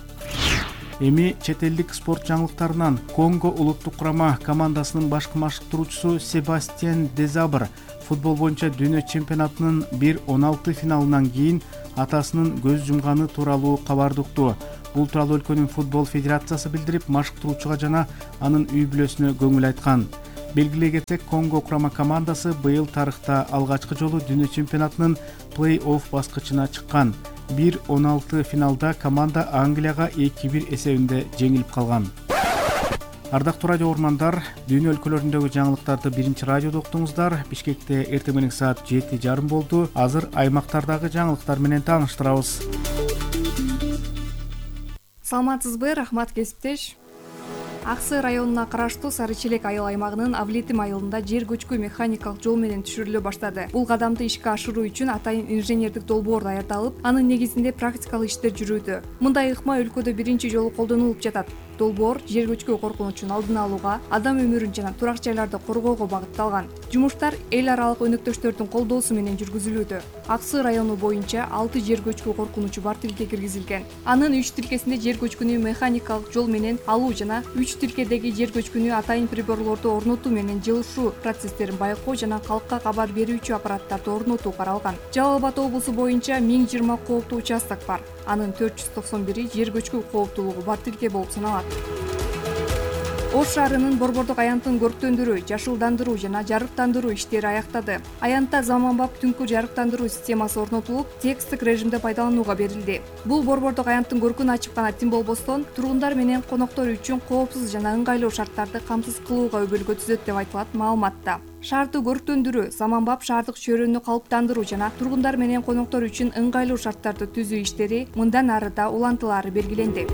Эми чет элдик спорт жаңылыктарынан Конго улуттук курама командасынын башкы машыктыруучусу Себастьян Дезабр футбол боюнча дүйнө чемпионатынын 1/16 финалынан кийин атасынын көз жумганы тууралуу кабарды укту. Бул тууралуу өлкөнүн футбол федерациясы билдирип, машыктыруучуга жана анын үй бүлөсүнө көңүл айткан. Белгилей кетсек, Конго курама командасы быйыл тарыхта алгачкы жолу дүйнө чемпионатынын плей-офф баскычына чыккан. 1/16 финалда команда Англияга 2-1 эсебинде жеңилип калган. Ардактуу радио угармандар, дүйнө өлкөлөрүндөгү жаңылыктарды Биринчи радиодо уктуңуздар. Бишкекте эртең менен саат 7:30 болду. Азыр аймактардагы жаңылыктар менен тааныштырабыз. Саламатсызбы, рахмат кесиптеш. Аксы районуна караштуу Сары Челек айыл аймагынын Авлетим айылында жер көчкү механикалык жол менен түшүрүлө баштады. Бул кадамды ишке ашыруу үчүн атайын инженердик долбоор даярдалып, анын негизинде практикалык иштер жүрүүдө. Мындай ыкма өлкөдө биринчи жолу колдонулуп жатат. Долбоор жер көчкү коркунучун алдын алууга, адам өмүрүн жана турак жайларды коргоого багытталган. Жумуштар эл аралык өнөктөштөрдүн колдоосу менен жүргүзүлүүдө. Аксы району боюнча 6 жер көчкү коркунучу бар тилке киргизилген. Анын 3 тилкесинде жер көчкүнү механикалык жол менен алуу жана 3 тилкедеги жер көчкүнү атайын приборлорду орнотуу менен жылышуу процесстерин байкоо жана калкка кабар берүүчү аппараттарды орнотуу каралган. Жалал Абад облусу боюнча 1020 кооптуу участок бар. Анын 491 жер көчкү кооптуулугу бар тилке болуп саналат. Ош шаарынын борбордук аянтын көрктөндүрүү, жашылдандыруу жана жарыктандыруу иштери аяктады. Аянтта заманбап түнкү жарыктандыруу системасы орнотулуп, тексттик режимде пайдаланууга берилди. Бул борбордук аянттын көркүн ачып гана тим болбостон, тургундар менен коноктор үчүн коопсуз жана ыңгайлуу шарттарды камсыз кылууга өбөлгө түзөт деп айтылат маалыматта. Шаарды көрктөндүрүү, заманбап шаардык чөйрөнү калыптандыруу жана тургундар менен коноктор үчүн ыңгайлуу шарттарды түзүү иштери мындан ары да улантылаары белгиленди.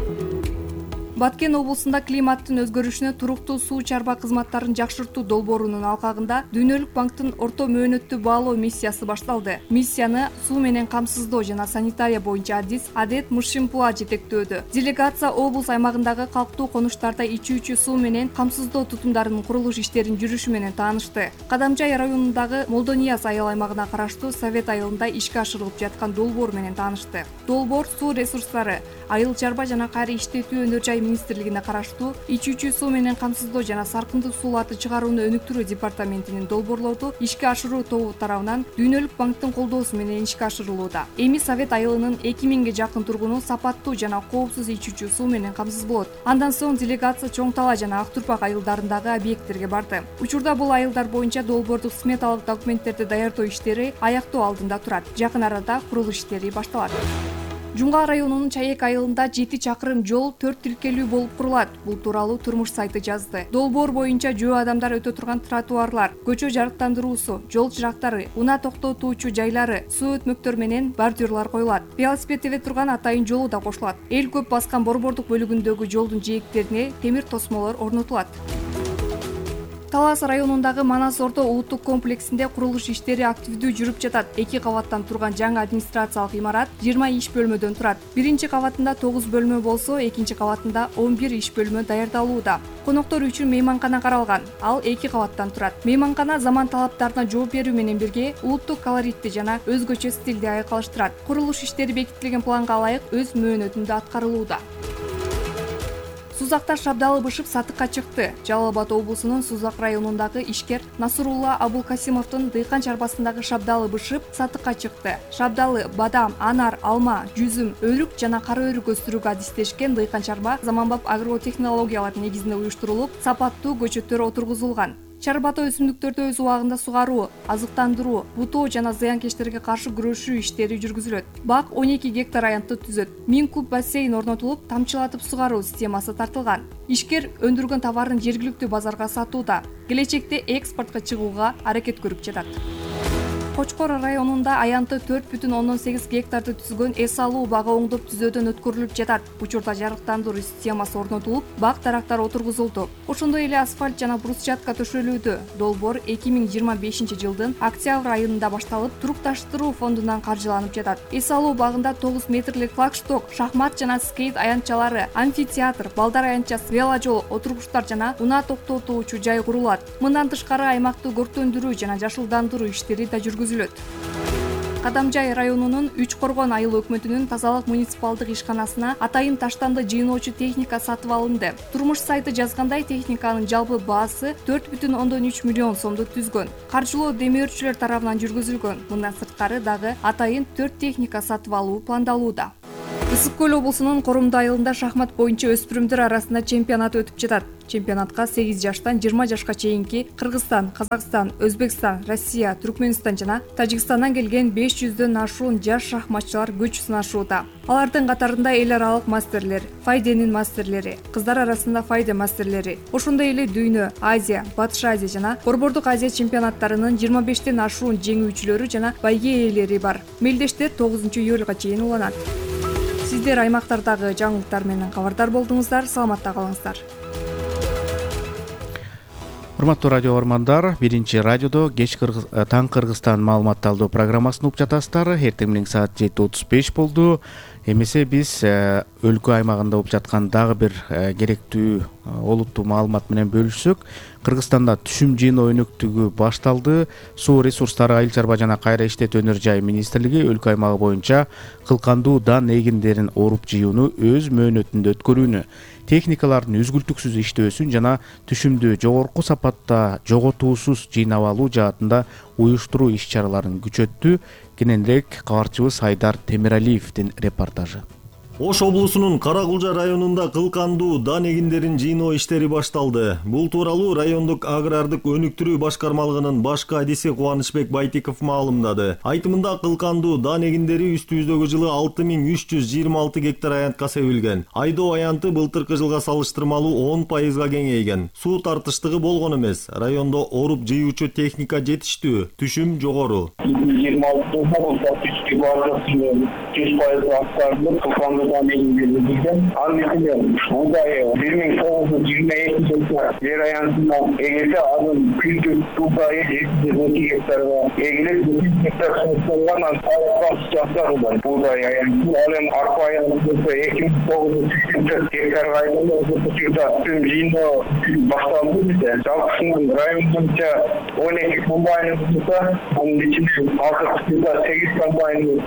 Баткен облусунда климаттын өзгөрүшүнө туруктуу суу чарба кызматтарын жакшыртуу долбоорунун алкагында Дүйнөлүк банктын орто мөөнөттүү баалоо миссиясы башталды. Миссияны суу менен камсыздоо жана санитария боюнча Адет Мышимпула жетектөөдө. Делегация облус аймагындагы калктуу конуштарда ичүүчү суу менен камсыздоо тутумдарынын курулуш иштеринин жүрүшү менен таанышты. Кадамжай районундагы Молдонияз айыл аймагына караштуу Совет айылында ишке ашырылып жаткан долбоор менен таанышты. Долбоор суу ресурстары, айыл чарба жана кайра иштетүү өнөр жай министрлигине караштуу ичүүчү суу менен камсыздоо жана саркындуу сууларды чыгарууну өнүктүрүү департаментинин долбоорлорду ишке ашыруу тобу тарабынан Дүйнөлүк банктын колдоосу менен ишке ашырылууда. Эми Совет айылынын 2000ге жакын тургуну сапаттуу жана коопсуз ичүүчү суу менен камсыз болот. Андан соң делегация Чоң Тала жана Ак Турпак айылдарындагы объекттерге барды. Учурда бул айылдар боюнча долбоордук сметалык документтерди даярдоо иштери аяктоо алдында турат. Жакын арада курулуш иштери башталат. Жуңга районунун Чаек айылында 7 чакырым жол 4 тилкелүү болуп курулат. Бул тууралуу Турмуш сайты жазды. Долбоор боюнча жөө адамдар өтө турган тротуарлар, көчө жарыктандыруусу, жол чырактары, унаа токтотуучу жайлары, суу өтмөктөр менен бордюрлар коюлат. Велосипед тебе турган атайын жолу да кошулат. Эл көп баскан борбордук бөлүгүндөгү жолдун жээктерине темир тосмолор орнотулат. Талас районундагы Манас орто улуттук комплексинде курулуш иштери активдүү жүрүп жатат. 2 кабаттан турган жаңы администрациялык имарат 20 иш бөлмөдөн турат. Биринчи кабатында 9 бөлмө болсо, экинчи кабатында 11 иш бөлмө даярдалууда. Коноктор үчүн мейманкана каралган. Ал 2 кабаттан турат. Мейманкана заман талаптарына жооп берүү менен бирге улуттук колоритти жана өзгөчө стилди айкалыштырат. Курулуш иштери бекитилген планга ылайык өз мөөнөтүндө аткарылууда. Сузакта шабдалы бышып сатыкка чыкты. Жалал Абад облусунун Сузак районундагы ишкер Насырулла Абулкасимовдун дыйкан чарбасындагы шабдалы бышып сатыкка чыкты. Шабдалы, бадам, анар, алма, жүзүм, өрүк жана кара өрүк өстүрүүгө адистешкен дыйкан чарба заманбап агротехнологиялар негизинде уюштурулуп, сапаттуу көчөттөр отургузулган. Чарбата өсүмдүктөрдү өз убагында сугаруу, азыктандыруу, бутоо жана зыянкечтерге каршы күрөшүү иштери жүргүзүлөт. Бак 12 гектар аянтты түзөт. 1000 куб бассейн орнотулуп, тамчылатып сугаруу системасы тартылган. Ишкер өндүргөн товарын жергиликтүү базарга сатууда. Келечекте экспортко чыгууга аракет көрүп жатат. Кочкор районунда аянты 4,8 гектарды түзгөн эс алуу бага оңдоп түзөөдөн өткөрүлүп жатат. Учурда жарыктандыруу системасы орнотулуп, бак дарактар отургузулду. Ошондой эле асфальт жана брусчатка төшөлүүдө. Долбоор 2025 жылдын октябрь айында башталып, турукташтыруу фондунан каржыланып жатат. Эс алуу багында 9 метрлик флагшток, шахмат жана скейт аянтчалары, амфитеатр, балдар аянтчасы, веложол, отургучтар жана унаа токтотуучу жай курулат. Мындан тышкары аймакты көрктөндүрүү жана жашылдандыруу иштери да жүргүзүлөт. Кадамжай районунун Үч Коргон айыл өкмөтүнүн тазалык муниципалдык ишканасына атайын таштанды жыйноочу техника сатып алынды. Турмуш сайты жазгандай, техниканын жалпы баасы 4,3 миллион сомду түзгөн. Каржылоо демөөрчүлөр тарабынан жүргүзүлгөн. Мындан сырткары дагы атайын 4 техника сатып алуу пландалууда. Ысык Көл облусунун Корумду айылында шахмат боюнча өспүрүмдөр арасында чемпионат өтүп жатат. Чемпионатка 8 жаштан 20 жашка чейинки Кыргызстан, Казакстан, Өзбекстан, Россия, Түркмөнстан жана Тажикстандан келген 500дөн ашуун жаш шахматчылар күч сынашууда. Алардын катарында эл аралык мастерлер, Файденин мастерлери, кыздар арасында Файде мастерлери, ошондой эле Дүйнө, Азия, Батыш Азия жана Борбордук Азия чемпионаттарынын 25тен ашуун жеңүүчүлөрү жана байге ээлери бар. Мелдештер 9-июлга чейин уланат. Сиздер аймактардагы жаңылыктар менен кабардар болдуңуздар, саламатта калыңыздар. Урматтуу радио угармандар, биринчи радиодо кеч таң Кыргызстан маалымат алуу программасын угуп жатасыздар. Эртең менен саат 7:35 болду. Эмесе биз өлкө аймагында болуп жаткан дагы бир керектүү олуттуу маалымат менен бөлүшсөк, Кыргызстанда түшүм жыйноо өнөктүгү башталды. Суу ресурстары, айыл чарба жана кайра иштетүү өнөр жай министрлиги өлкө аймагы боюнча кылкандуу дан эгиндерин оруп жыюуну өз мөөнөтүндө өткөрүүнү, техникалардын үзгүлтүксүз иштөөсүн жана түшүмдү жогорку сапатта жоготуусуз жыйнап алуу жаатында уюштуруу иш-чараларын күчөттү. Кененирээк кабарчыбыз Айдар Темиралиевдин репортажы. Ош облусунун Кара Кулжа районунда кылкандуу дан эгиндерин жыйноо иштери башталды. Бул тууралуу райондук агрардык өнүктүрүү башкармалыгынын башкы адиси Кубанычбек Байтиков маалымдады. Айтымында кылкандуу дан эгиндери үстүбүздөгү жылы 6326 гектар аянтка себилген. Айдоо аянты былтыркы жылга салыштырмалуу 10% кеңейген. Суу тартыштыгы болгон эмес. Райондо оруп жыюучу техника жетиштүү, түшүм жогору. 100% Buğday 1922 yer ayantına egesi adın kültür buğdayı 712 hektarına egilip 9 hektar sınıflarından sağlıktan sıcaklar olan buğday ayantı alem arpa ayantı 2900 hektar rayonunda uzatışırda tüm jino başlandı bize. Çalkısının rayonunca 12 kombaynımızda onun içinde 8 kombaynımız 100%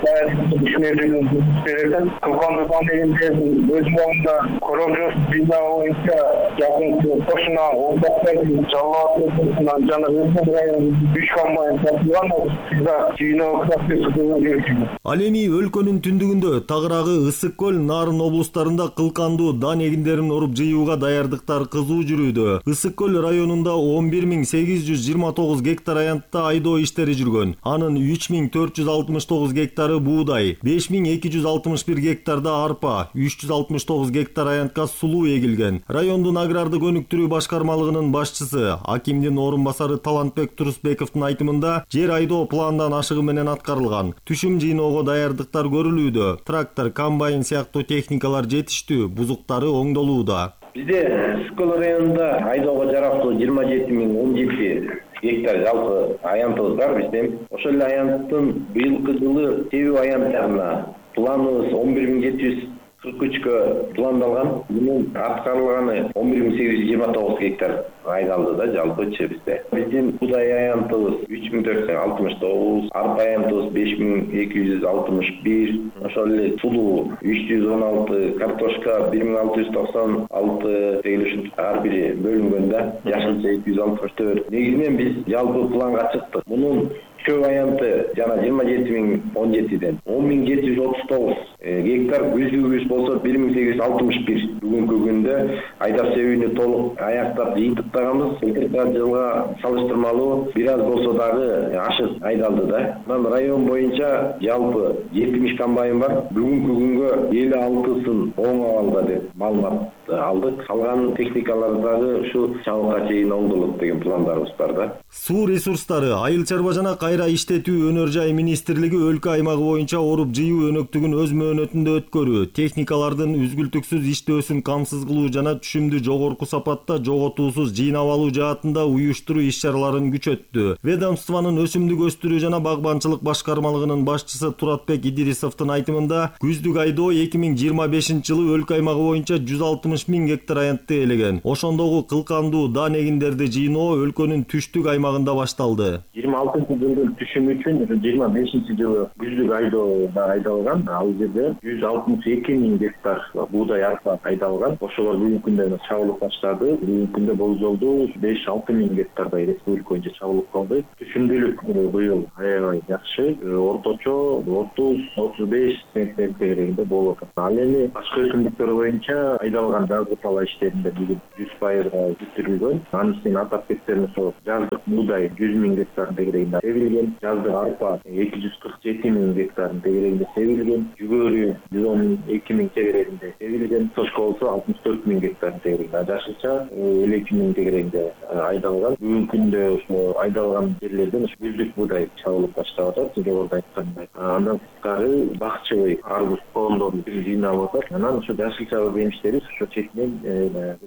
dayanıklı düşünüldüğünü verirken Kılkandıdan elimizin öz boğunda korojos bina oyunca yakın koşuna oldakları çalıatlarından canı hızlı rayonun 3 kombayn satılan o sizde jino kısaklı sıkıntı gerekiyor. Ал эми өлкөнүн түндүгүндө Тагырагы, Ысык көл, Нарын облустарында кылкандуу дан эгиндерин оруп жыюуга даярдыктар кызуу жүрүүдө. Ысык көл районунда 11829 гектар аянтта айдоо иштери жүргөн. Анын 3469 гектары буудай, 5261 гектарда арпа, 369 гектар аянтка сулуу эгилген. Райондун агрардык өнүктүрүү башкармалыгынын башчысы, акимдин орун басары Талантбек Турусбековдун айтымында, жер айдоо пландан ашыгы менен аткарылган. Түшүм жыйноого даярдыктар көрүлүүдө. Трактор, комбайн сыяктуу техникалар жетиштүү, бузуктары оңдолууда. Бизде Ысык районунда айдоого жарактуу 27017 гектар жалпы аянтыбыз бар бизде. Ошол эле аянттын быйылкы жылы себүү аянттарына планыбыз 11743кө пландалган. Бунун аткарылганы 11829 гектар айдалды да жалпычы бизде. Биздин буудай аянтыбыз 3469, арпа аянтыбыз 5261, ошол эле сулуу 316, картошка 1696 деген ушинтип ар бири бөлүнгөн да. Жашылча 264. Негизинен биз жалпы планга чыктык. Мунун чөп аянты жана 27017ден 10739 гектар, күздүгүбүз болсо 1861. Бүгүнкү күндө айдап себүүнү толук аяктап жыйынтыктаганбыз. Былтыркы жылга салыштырмалуу бир аз болсо дагы ашык айдалды да. Анан район боюнча жалпы 70 комбайн бар. Бүгүнкү күнгө 56сын оң абалда деп маалымат алдык. Калган техникалар дагы ушу чабыкка чейин оңдолот деген пландарыбыз бар да. Суу ресурстары, айыл чарба жана кайра иштетүү өнөр жай министрлиги өлкө аймагы боюнча оруп жыюу өнөктүгүн өз мөөнөтүндө өткөрүү, техникалардын үзгүлтүксүз иштөөсүн камсыз кылуу жана түшүмдү жогорку сапатта жоготуусуз жыйнап алуу жаатында уюштуруу иш-чараларын күчөттү. Ведомствонун өсүмдүк өстүрүү жана багбанчылык башкармалыгынын башчысы Туратбек Идирисовдун айтымында, күздүк айдоо 2025-жылы өлкө аймагы боюнча 160 000 гектар аянтты ээлеген. Ошондогу кылкандуу дан эгиндерди жыйноо өлкөнүн түштүк аймагында башталды. 26-жылдын түшүмү үчүн 25-жылы күздүк айдоого айдалган. Ал жерде 162 000 гектар буудай арпа айдалган. Ошолор бүгүнкү күндө чабылып баштады. Бүгүнкү күндө болжолдуу 5-6 000 гектардай республика боюнча чабылып калды. Түшүмдүүлүк быйыл аябай жакшы. Орточо 30-35 центнер деңгээлинде болуп атат. Ал эми башка өсүмдүктөр боюнча айдалган жазгы пала иштеринде бүгүн 100% бүтүрүлгөн. Анын үстүнө атап кетсем, ошо жаздык буудай 100 000 гектар деңгээлинде себилген, жаздык арпа 247 000 гектар деңгээлинде себилген, жүгөрү 112 000 деңгээлинде себилген, сошко болсо 64 000 гектар деңгээлинде, жашылча 52 000 деңгээлинде айдалган. Бүгүнкү күндө ошо айдалган жерлерден күздүк буудай чабылып баштап атат, жогоруда айткандай. Андан тышкары бакчылык арбуз коомдорун жыйнап атат. Анан ошо жашылча жемиштери ошо четинен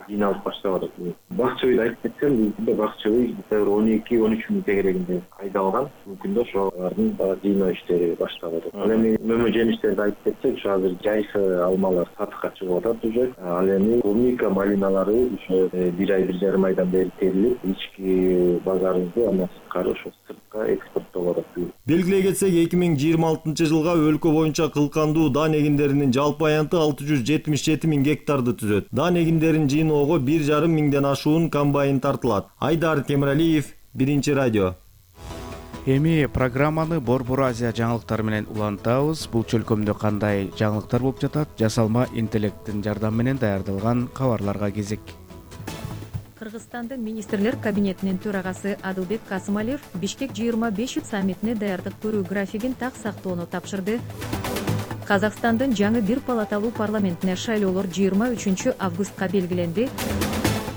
жыйналып баштап атат. Бакчылыкты айтып кетсем, бүгүнкү бакчылык 12-13 000 деңгээлинде айдалган. Бүгүндө ошолордун жыйноо иштери башталып атат. Ал эми мөмө жемиштерди айтып кетсек, ошо азыр жайкы алмалар сатыкка чыгып атат уже. Ал эми клубника, малиналары ошо 1 ай 1,5 айдан бери терилип, ички базарыбызды андан сырткары ошо сыртка экспорттолуп атат. Белгилей кетсек, 2026-жылга өлкө боюнча кылкандуу дан эгиндеринин жалпы аянты 677 000 гектарды түзөт. Дан эгиндерин жыйноого 1,5 миңден ашуун комбайн тартылат. Айдар Темиралиев, Биринчи радио. Эми программаны Борбор Азия жаңылыктары менен улантабыз. Бул чөлкөмдө кандай жаңылыктар болуп жатат? Жасалма интеллекттин жардамы менен даярдалган кабарларга кезек. Кыргызстандын министрлер кабинетинин төрагасы Адылбек Касымалиев Бишкек 25 саммитине даярдык көрүү графигин так сактоону тапшырды. Казакстандын жаңы бир палаталуу парламентине шайлоолор 23 августка белгиленди.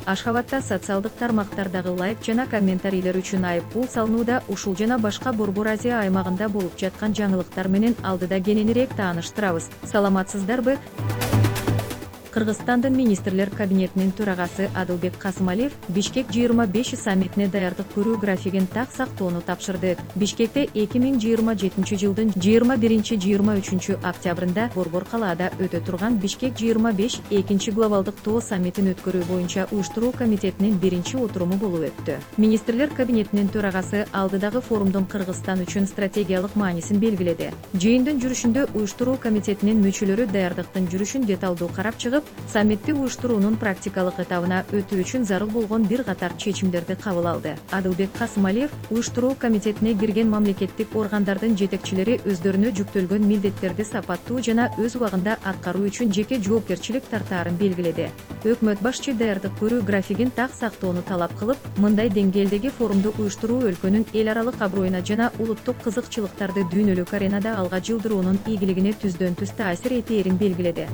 Ашхабадда социалдык тармактардагы лайк жана комментарийлер үчүн айыппул салынууда. Ушул жана башка Борбор Азия аймагында болуп жаткан жаңылыктар менен алдыда кененирээк тааныштырабыз. Саламатсыздарбы? Кыргызстандын министрлер кабинетинин төрагасы Адылбек Касымалиев Бишкек 25 саммитине даярдык көрүү графигин так сактоону тапшырды. Бишкекте 2027 жылдын 21-23 октябрында Борбор калаада өтө турган Бишкек 25 экинчи глобалдык тоо саммитин өткөрүү боюнча уюштуруу комитетинин биринчи отуруму болуп өттү. Министрлер кабинетинин төрагасы алдыдагы форумдун Кыргызстан үчүн стратегиялык маанисин белгиледи. Жыйындын жүрүшүндө уюштуруу комитетинин мүчөлөрү даярдыктын жүрүшүн деталдуу карап чыгып, саммитти уюштуруунун практикалык этабына өтүү үчүн зарыл болгон бир катар чечимдерди кабыл алды. Адылбек Касымалиев уюштуруу комитетине кирген мамлекеттик органдардын жетекчилери өздөрүнө жүктөлгөн милдеттерди сапаттуу жана өз убагында аткаруу үчүн жеке жоопкерчилик тартаарын белгиледи. Өкмөт башчы даярдык көрүү графигин так сактоону талап кылып, мындай деңгээлдеги форумду уюштуруу өлкөнүн эл аралык аброюна жана улуттук кызыкчылыктарды дүйнөлүк аренада алга жылдыруунун игилигине түздөн түз таасир этээрин белгиледи.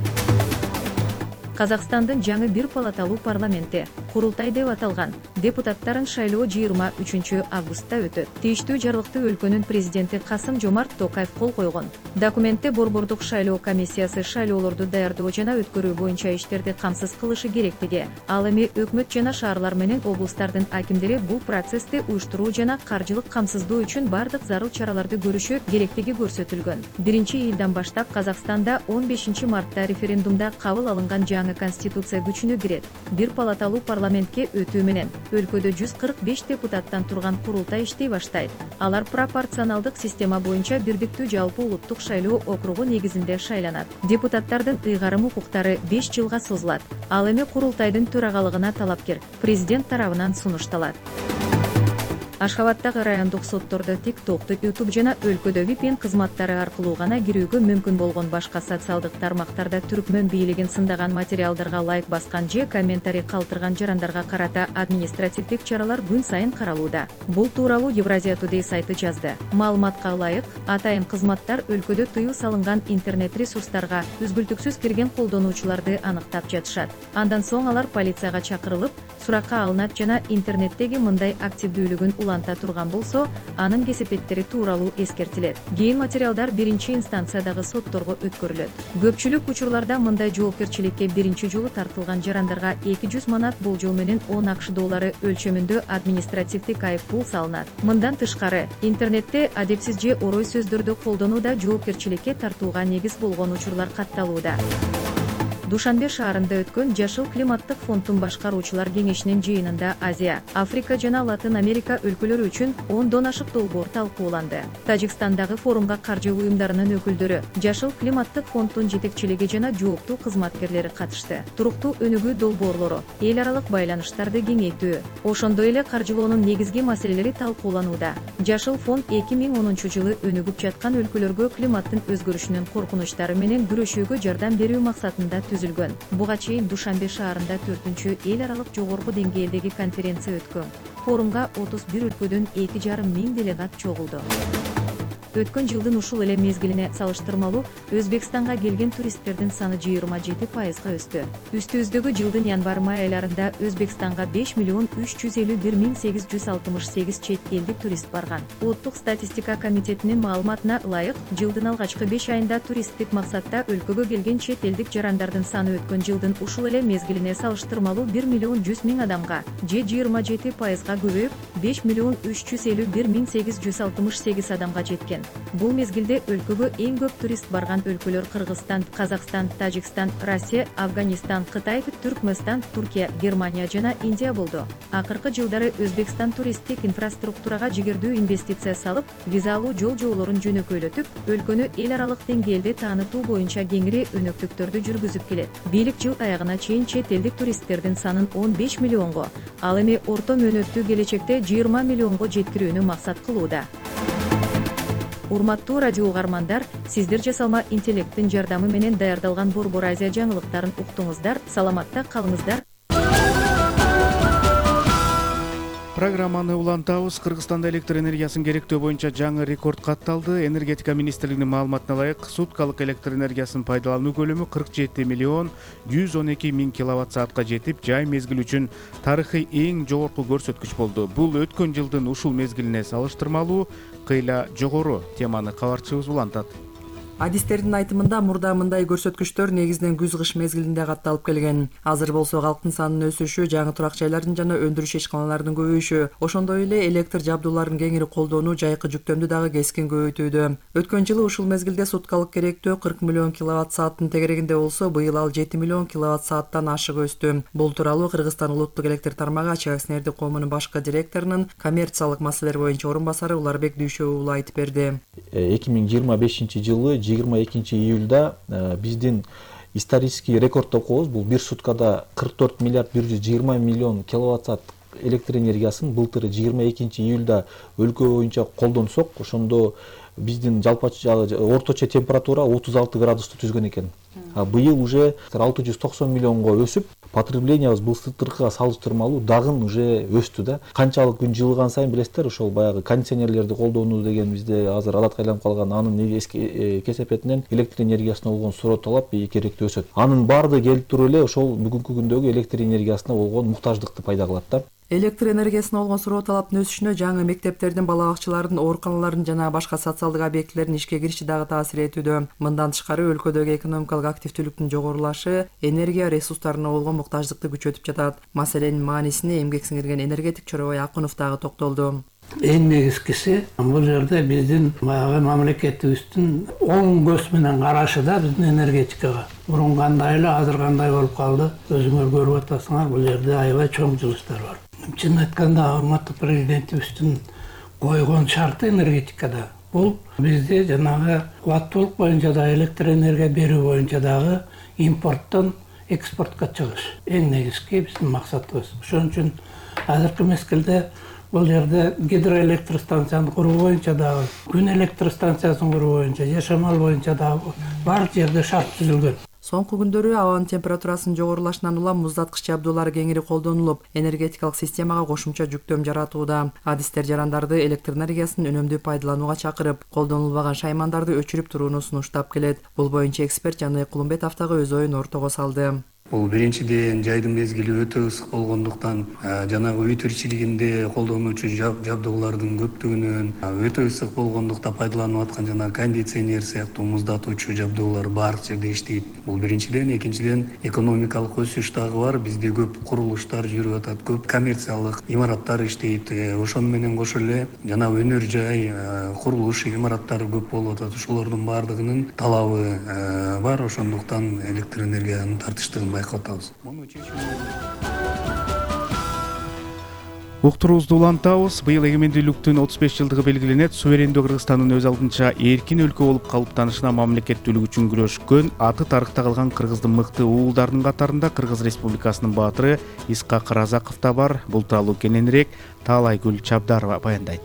Казакстандын жаңы бир палаталуу парламенти курултай деп аталган депутаттарын шайлоо 23 августта өтөт. Тийиштүү жарлыкты өлкөнүн президенти Касым-Жомарт Токаев кол койгон. Документте Борбордук шайлоо комиссиясы шайлоолорду даярдоо жана өткөрүү боюнча иштерди камсыз кылышы керектиги, ал эми өкмөт жана шаарлар менен облустардын акимдери бул процессти уюштуруу жана каржылык камсыздоо үчүн бардык зарыл чараларды көрүшү керектиги көрсөтүлгөн. 1-ийлдан баштап Казакстанда 15 мартта референдумда кабыл алынган жаңы конституция күчүнө кирет. Бир палаталуу парламентке өтүү менен өлкөдө 145 депутаттан турган курултай иштей баштайт. Алар пропорционалдык система боюнча бирдиктүү жалпы улуттук шайлоо округу негизинде шайланат. Депутаттардын ыйгарым укуктары 5 жылга созулат. Ал эми курултайдын төрагалыгына талапкер президент тарабынан сунушталат. Ашхабаддагы райондук соттордо TikTok, YouTube жана өлкөдө VPN кызматтары аркылуу гана кирүүгө мүмкүн болгон башка социалдык тармактарда түркмөн бийлигин сындаган материалдарга лайк баскан же комментарий калтырган жарандарга карата административдик чаралар күн сайын каралууда. Бул тууралуу Евразия Today сайты жазды. Маалыматка ылайык, атайын кызматтар өлкөдө тыюу салынган интернет ресурстарга үзгүлтүксүз кирген колдонуучуларды аныктап жатышат. Андан соң алар полицияга чакырылып, суракка алынат жана интернеттеги мындай активдүүлүгүн уланта турган болсо, анын кесепеттери тууралуу эскертилет. Кийин материалдар биринчи инстанциядагы сотторго өткөрүлөт. Көпчүлүк учурларда мындай жоопкерчиликке биринчи жолу тартылган жарандарга 200 манат болжол менен 10 АКШ доллары өлчөмүндө административдик айыппул салынат. Мындан тышкары, интернетте адепсиз же орой сөздөрдү колдонууда жоопкерчиликке тартууга негиз болгон учурлар катталууда. Душанбе шаарында өткөн Жашыл климаттык фонддун башкаруучулар кеңешинин жыйынында Азия, Африка жана Латын Америка өлкөлөрү үчүн 10 ашык долбоор талкууланды. Тажикстандагы форумга каржы уюмдарынын өкүлдөрү, Жашыл климаттык фонддун жетекчилиги жана жооптуу кызматкерлери катышты. Туруктуу өнүгүү долбоорлору, эл аралык байланыштарды кеңейтүү, ошондой эле каржылоонун негизги маселелери талкууланууда. Жашыл фонд 2010 жылы өнүгүп жаткан өлкөлөргө климаттын өзгөрүшүнүн коркунучтары менен күрөшүүгө жардам берүү максатында түзүлгөн. Буга чейин Душанбе шаарында 4-чү эл аралык жогорку деңгээлдеги конференция өткөн. Форумга 31 өлкөдөн 2,5 миң делегат чогулду. Өткөн жылдын ушул эле мезгилине салыштырмалуу Өзбекстанга келген туристтердин саны 27% өстү. Үстүбүздөгү жылдын январь-май айларында Өзбекстанга 5,351,868 чет элдик турист барган. Улуттук статистика комитетинин маалыматына ылайык, жылдын алгачкы 5 айында туристтик максатта өлкөгө келген чет элдик жарандардын саны өткөн жылдын ушул эле мезгилине салыштырмалуу 1,100,000 адамга же 27%га көбөйүп, 5,351,868 адамга жеткен. Бул мезгилде өлкөгө эң көп турист барган өлкөлөр Кыргызстан, Казакстан, Тажикстан, Россия, Афганистан, Кытай, Түркмөнстан, Туркия, Германия жана Индия болду. Акыркы жылдары Өзбекстан туристтик инфраструктурага жигердүү инвестиция салып, визалуу жол жоолорун жөнөкөйлөтүп, өлкөнү эл аралык деңгээлде таанытуу боюнча кеңири өнөктүктөрдү жүргүзүп келет. Бийлик жыл аягына чейин чет элдик туристтердин санын 15 миллионго, ал эми орто мөөнөттүү келечекте 20 миллионго жеткирүүнү максат кылууда. урматтуу радио угармандар, сиздер жасалма интеллекттин жардамы менен даярдалган Борбор Азия жаңылыктарын уктуңуздар. Саламатта калыңыздар. Программаны улантабыз. Кыргызстанда электр энергиясын керектөө боюнча жаңы рекорд катталды. Энергетика министрлигинин маалыматына ылайык, суткалык электр энергиясын пайдалануу көлөмү 47 миллион 112 миң киловатт саатка жетип, жай мезгил үчүн тарыхый эң жогорку көрсөткүч болду. Бул өткөн жылдын ушул мезгилине салыштырмалуу кыйла жогору. Теманы кабарчыбыз улантат. Адистердин айтымында мурда мындай көрсөткүчтөр негизинен күз-кыш мезгилинде катталып келген. Азыр болсо калктын санынын өсүшү, жаңы турак жайлардын жана өндүрүш ишканаларынын көбөйүшү, ошондой эле электр жабдууларын кеңири колдонуу жайкы жүктөмдү дагы кескин көбөйтүүдө. Өткөн жылы ушул мезгилде суткалык керектөө 40 миллион киловатт сааттын тегерегинде болсо, быйыл ал 7 миллион киловатт сааттан ашык өстү. Бул тууралуу Кыргызстан улуттук электр тармагы ачык акционердик коомунун башкы директорунун коммерциялык маселелер боюнча орун басары Уларбек Дүйшөбү уулу айтып берди. 2025 жылы 22 июлда биздин исторический рекордду коебуз. Бул бир суткада 44 миллиард 120 миллион киловатт саат электр энергиясын былтыр 22 июлда өлкө боюнча колдонсок, ошондо биздин жалпы орточо температура 36 градусту түзгөн экен. Быйыл уже 690 миллионго өсүп, потреблениябыз былтыркыга салыштырмалуу дагы уже өстү да. Канчалык күн жылыган сайын билесиздер, ошол баягы кондиционерлерди колдонуу деген бизде азыр адатка айланып калган. Анын кесепетинен электр энергиясына болгон суроо талап керектүү өсөт. Анын баардыгы келип туруп эле ошол бүгүнкү күндөгү электр энергиясына болгон муктаждыкты пайда кылат да. Электр энергиясына болгон суроо талаптын өсүшүнө жаңы мектептердин, бала бакчалардын, ооруканалардын жана башка социалдык объектилердин ишке кириши дагы таасир этүүдө. Мындан тышкары өлкөдөгү экономикалык активдүүлүктүн жогорулашы энергия ресурстарына болгон муктаждыкты күчөтүп жатат. Маселенин маанисине эмгек сиңирген энергетик Чоробой Акунов дагы токтолду. Эң негизгиси бул жерде биздин баягы мамлекетибиздин оң көз менен карашы да биздин энергетикага. Мурун кандай эле, азыр кандай болуп калды, өзүңөр көрүп атасыңар, бул жерде аябай чоң жылыштар бар. Чын айтканда, урматтуу президентибиздин койгон шарты энергетикада бул бизде жанагы кубаттуулук боюнча да, электр энергия берүү боюнча дагы импорттон экспортко чыгыш. Эң негизги биздин максатыбыз. Ошон үчүн азыркы мезгилде бул жерде гидроэлектростанцияны куруу боюнча дагы, күн электростанциясын куруу боюнча, жашамал боюнча дагы баардык жерде шарт түзүлгөн. Соңку күндөрү абанын температурасынын жогорулашынан улам муздаткыч жабдуулары кеңири колдонулуп, энергетикалык системага кошумча жүктөм жаратууда. Адистер жарандарды электр энергиясын үнөмдүү пайдаланууга чакырып, колдонулбаган шаймандарды өчүрүп турууну сунуштап келет. Бул боюнча эксперт Жаныбек Кулумбетов дагы өз оюн ортого салды. Бул биринчиден жайдын мезгили өтө ысык болгондуктан жанагы үй тиричилигинде колдонуучу жабдуулардын көптүгүнөн, өтө ысык болгондукта пайдаланып аткан жана кондиционер сыяктуу муздатуучу жабдуулар баардык жерде иштейт. Бул биринчиден, экинчиден экономикалык өсүш дагы бар. Бизде көп курулуштар жүрүп атат, көп коммерциялык имараттар иштейт. Ошону менен кошо эле жана өнөр жай, курулуш имараттары көп болуп атат. Ошолордун баардыгынын талабы бар. Ошондуктан электр энергиянын тартыштыгын байкатабыз. Уктуруубузду улантабыз. Быйыл эгемендүүлүктүн 35 жылдыгы белгиленет. Суверендүү Кыргызстандын өз алдынча эркин өлкө болуп калыптанышына мамлекеттүүлүк үчүн күрөшкөн, аты тарыхта калган кыргыздын мыкты уулдарынын катарында Кыргыз Республикасынын баатыры Исхак Разаков да бар. Бул тууралуу кененирээк Таалайгүл Чабдарова баяндайт.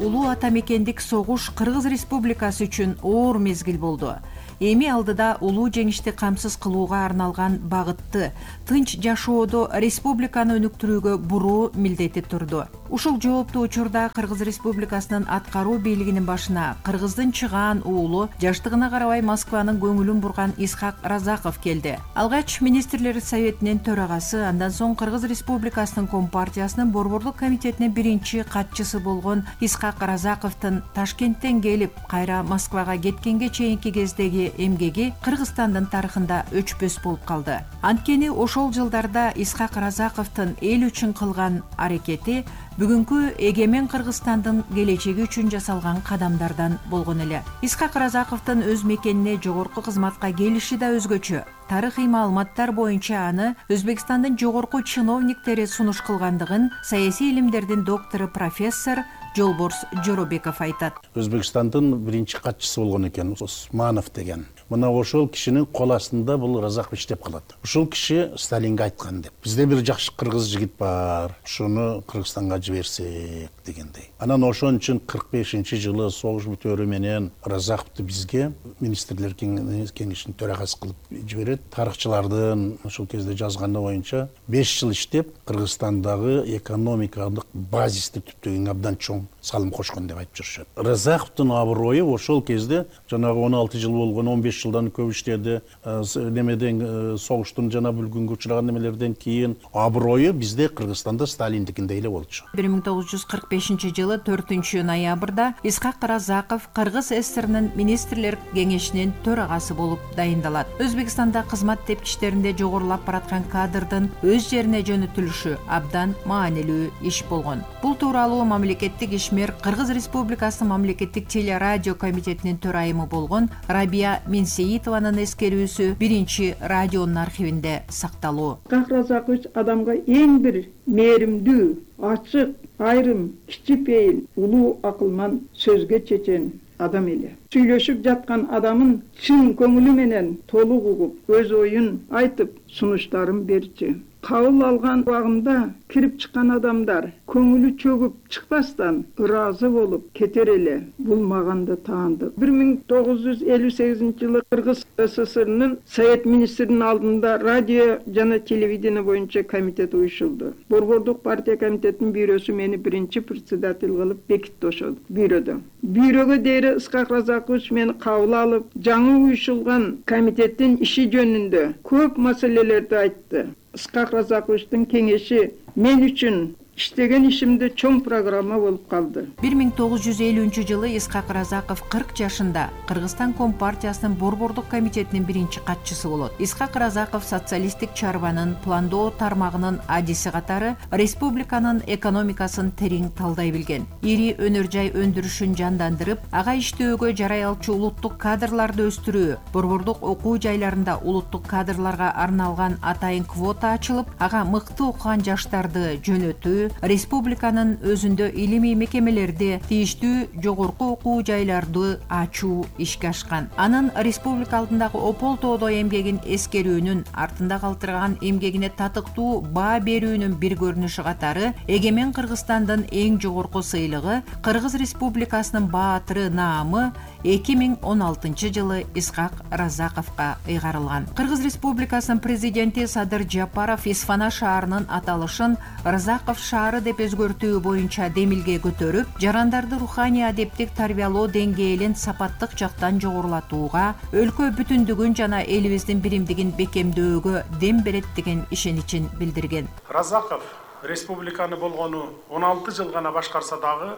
Улуу ата мекендик согуш Кыргыз Республикасы үчүн оор мезгил болду. Эми алдыда улуу жеңишти камсыз кылууга арналган багытты, тынч жашоодо республиканы өнүктүрүүгө буруу милдети турду. Ушул жооптуу учурда Кыргыз Республикасынын аткаруу бийлигинин башына Кыргыздын чыгаан уулу, жаштыгына карабай Москванын көңүлүн бурган Исхак Разаков келди. Алгач министрлер советинин төрагасы, андан соң Кыргыз Республикасынын Компартиясынын борборлук комитетинин биринчи катчысы болгон Исхак Разаковдун Ташкенттен келип, кайра Москвага кеткенге чейинки кездеги эмгеги Кыргызстандын тарыхында өчпөс болуп калды. Анткени ошол жылдарда Исхак Разаковдун эл үчүн кылган аракети бүгүнкү эгемен Кыргызстандын келечеги үчүн жасалган кадамдардан болгон эле. Исхак Разаковдун өз мекенине жогорку кызматка келиши да өзгөчө. тарыхый маалыматтар боюнча аны Өзбекстандын жогорку чиновниктери сунуш кылгандыгын саясий илимдердин доктору профессор Жолборс Жоробеков айтат. Өзбекстандын биринчи катчысы болгон экен, Усманов деген. Мына ошол кишинин кол астында бул Разаков иштеп калат. Ушул киши Сталинге айткан деп. Бизде бир жакшы кыргыз жигит бар, ушуну Кыргызстанга жиберсек дегендей. Анан ошон үчүн 45-жылы согуш бүтөөрү менен Разаковду бизге министрлер кеңешинин төрагасы кылып жиберет. Тарыхчылардын ошол кезде жазганы боюнча 5 жыл иштеп Кыргызстандагы экономикалык базисти түптөгөнгө абдан чоң салым кошкон деп айтып жүрүшөт. Разаковдун аброю ошол кезде жанагы 16 жыл болгон, 15 жылдан көп иштеди. Немеден согуштун жана бүлгүнгө учураган немелерден кийин аброю бизде Кыргызстанда Сталиндикиндей эле болчу. 1945-жылы 4-ноябрда Исхак Разаков Кыргыз ССРнын министрлер кеңешинин төрагасы болуп дайындалат. Өзбекстанда кызмат тепкичтеринде жогорулап бараткан кадрдын өз жерине жөнөтүлүшү абдан маанилүү иш болгон. Бул тууралуу мамлекеттик ишмер Кыргыз Республикасынын мамлекеттик телерадио комитетинин төрайымы болгон Рабия Менсеитованын эскерүүсү биринчи радионун архивинде сакталуу. Разакович адамга эң бир мээримдүү, ачык, айрым, кичипейил, улуу акылман, сөзгө чечен адам эле. Сүйлөшүп жаткан адамын чын көңүлү менен толук угуп, өз оюн айтып, сунуштарын берчү. Кабыл алган убагында кирип чыккан адамдар көңүлү чөгүп чыкпастан ыраазы болуп кетер эле. Бул мага да таандык. 1958-жылы Кыргыз СССРнын Совет министринин алдында радио жана телевидение боюнча комитет уюшулду. Борбордук партия комитетинин бюросу мени биринчи председатель кылып бекитти ошол бюродо. Бюрого дейре Исхак Разакович мени кабыл алып, жаңы уюшулган комитеттин иши жөнүндө көп маселелерди айтты. Исхак Разаковичтин кеңеши мен үчүн иштеген ишимде чоң программа болуп калды. 1950-жылы Исхак Разаков 40 жашында Кыргызстан Компартиясынын борбордук комитетинин биринчи катчысы болот. Исхак Разаков социалисттик чарбанын пландоо тармагынын адиси катары республиканын экономикасын терең талдай билген. Ири өнөр жай өндүрүшүн жандандырып, ага иштөөгө жарай алчу улуттук кадрларды өстүрүү, борбордук окуу жайларында улуттук кадрларга арналган атайын квота ачылып, ага мыкты окуган жаштарды жөнөтүү, республиканын өзүндө илимий мекемелерде тийиштүү жогорку окуу жайларды ачуу ишке ашкан. Анын республика алдындагы опол тоодой эмгегин эскерүүнүн, артында калтырган эмгегине татыктуу баа берүүнүн бир көрүнүшү катары Эгемен Кыргызстандын эң жогорку сыйлыгы Кыргыз Республикасынын баатыры наамы 2016-жылы Исхак Разаковго ыйгарылган. Кыргыз Республикасынын президенти Садыр Жапаров Исфана шаарынын аталышын Разаков шаары деп өзгөртүү боюнча демилге көтөрүп, жарандарды руханий адептик тарбиялоо деңгээлин сапаттык жактан жогорулатууга, өлкө бүтүндүгүн жана элибиздин биримдигин бекемдөөгө дем берет деген ишеничин билдирген. Разаков республиканы болгону 16 жыл гана башкарса дагы,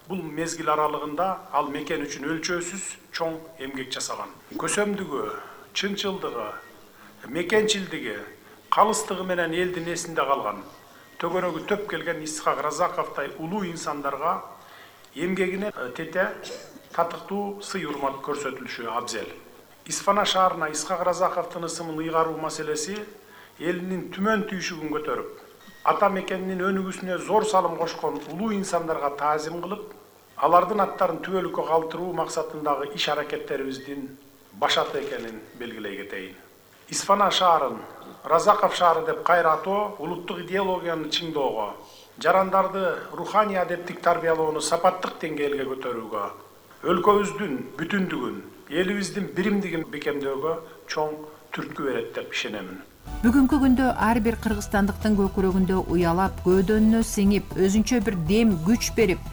бул мезгил аралыгында ал мекен үчүн өлчөөсүз чоң эмгек жасаган. Көсөмдүгү, чынчылдыгы, мекенчилдиги, калыстыгы менен элдин эсинде калган. Төгөрөгү төп келген Исхак Разаковтай улуу инсандарга эмгегине тете татыктуу сый урмат көрсөтүлүшү абзел. Исфана шаарына Исхак Разаковдун ысымын ыйгаруу маселеси элинин түмөн түйшүгүн көтөрүп, ата мекенинин өнүгүүсүнө зор салым кошкон улуу инсандарга таазим кылып, алардын аттарын түбөлүккө калтыруу максатындагы иш аракеттерибиздин башаты экенин белгилей кетейин. Исфана шаарын Разаков шаары деп кайра атоо улуттук идеологияны чыңдоого, жарандарды руханий адептик тарбиялоону сапаттык деңгээлге көтөрүүгө, өлкөбүздүн бүтүндүгүн, элибиздин биримдигин бекемдөөгө чоң түрткү берет деп ишенемин. Бүгүнкү күндө ар бир кыргызстандыктын көкүрөгүндө уялап, көөдөнүнө сиңип, өзүнчө бир дем күч берип,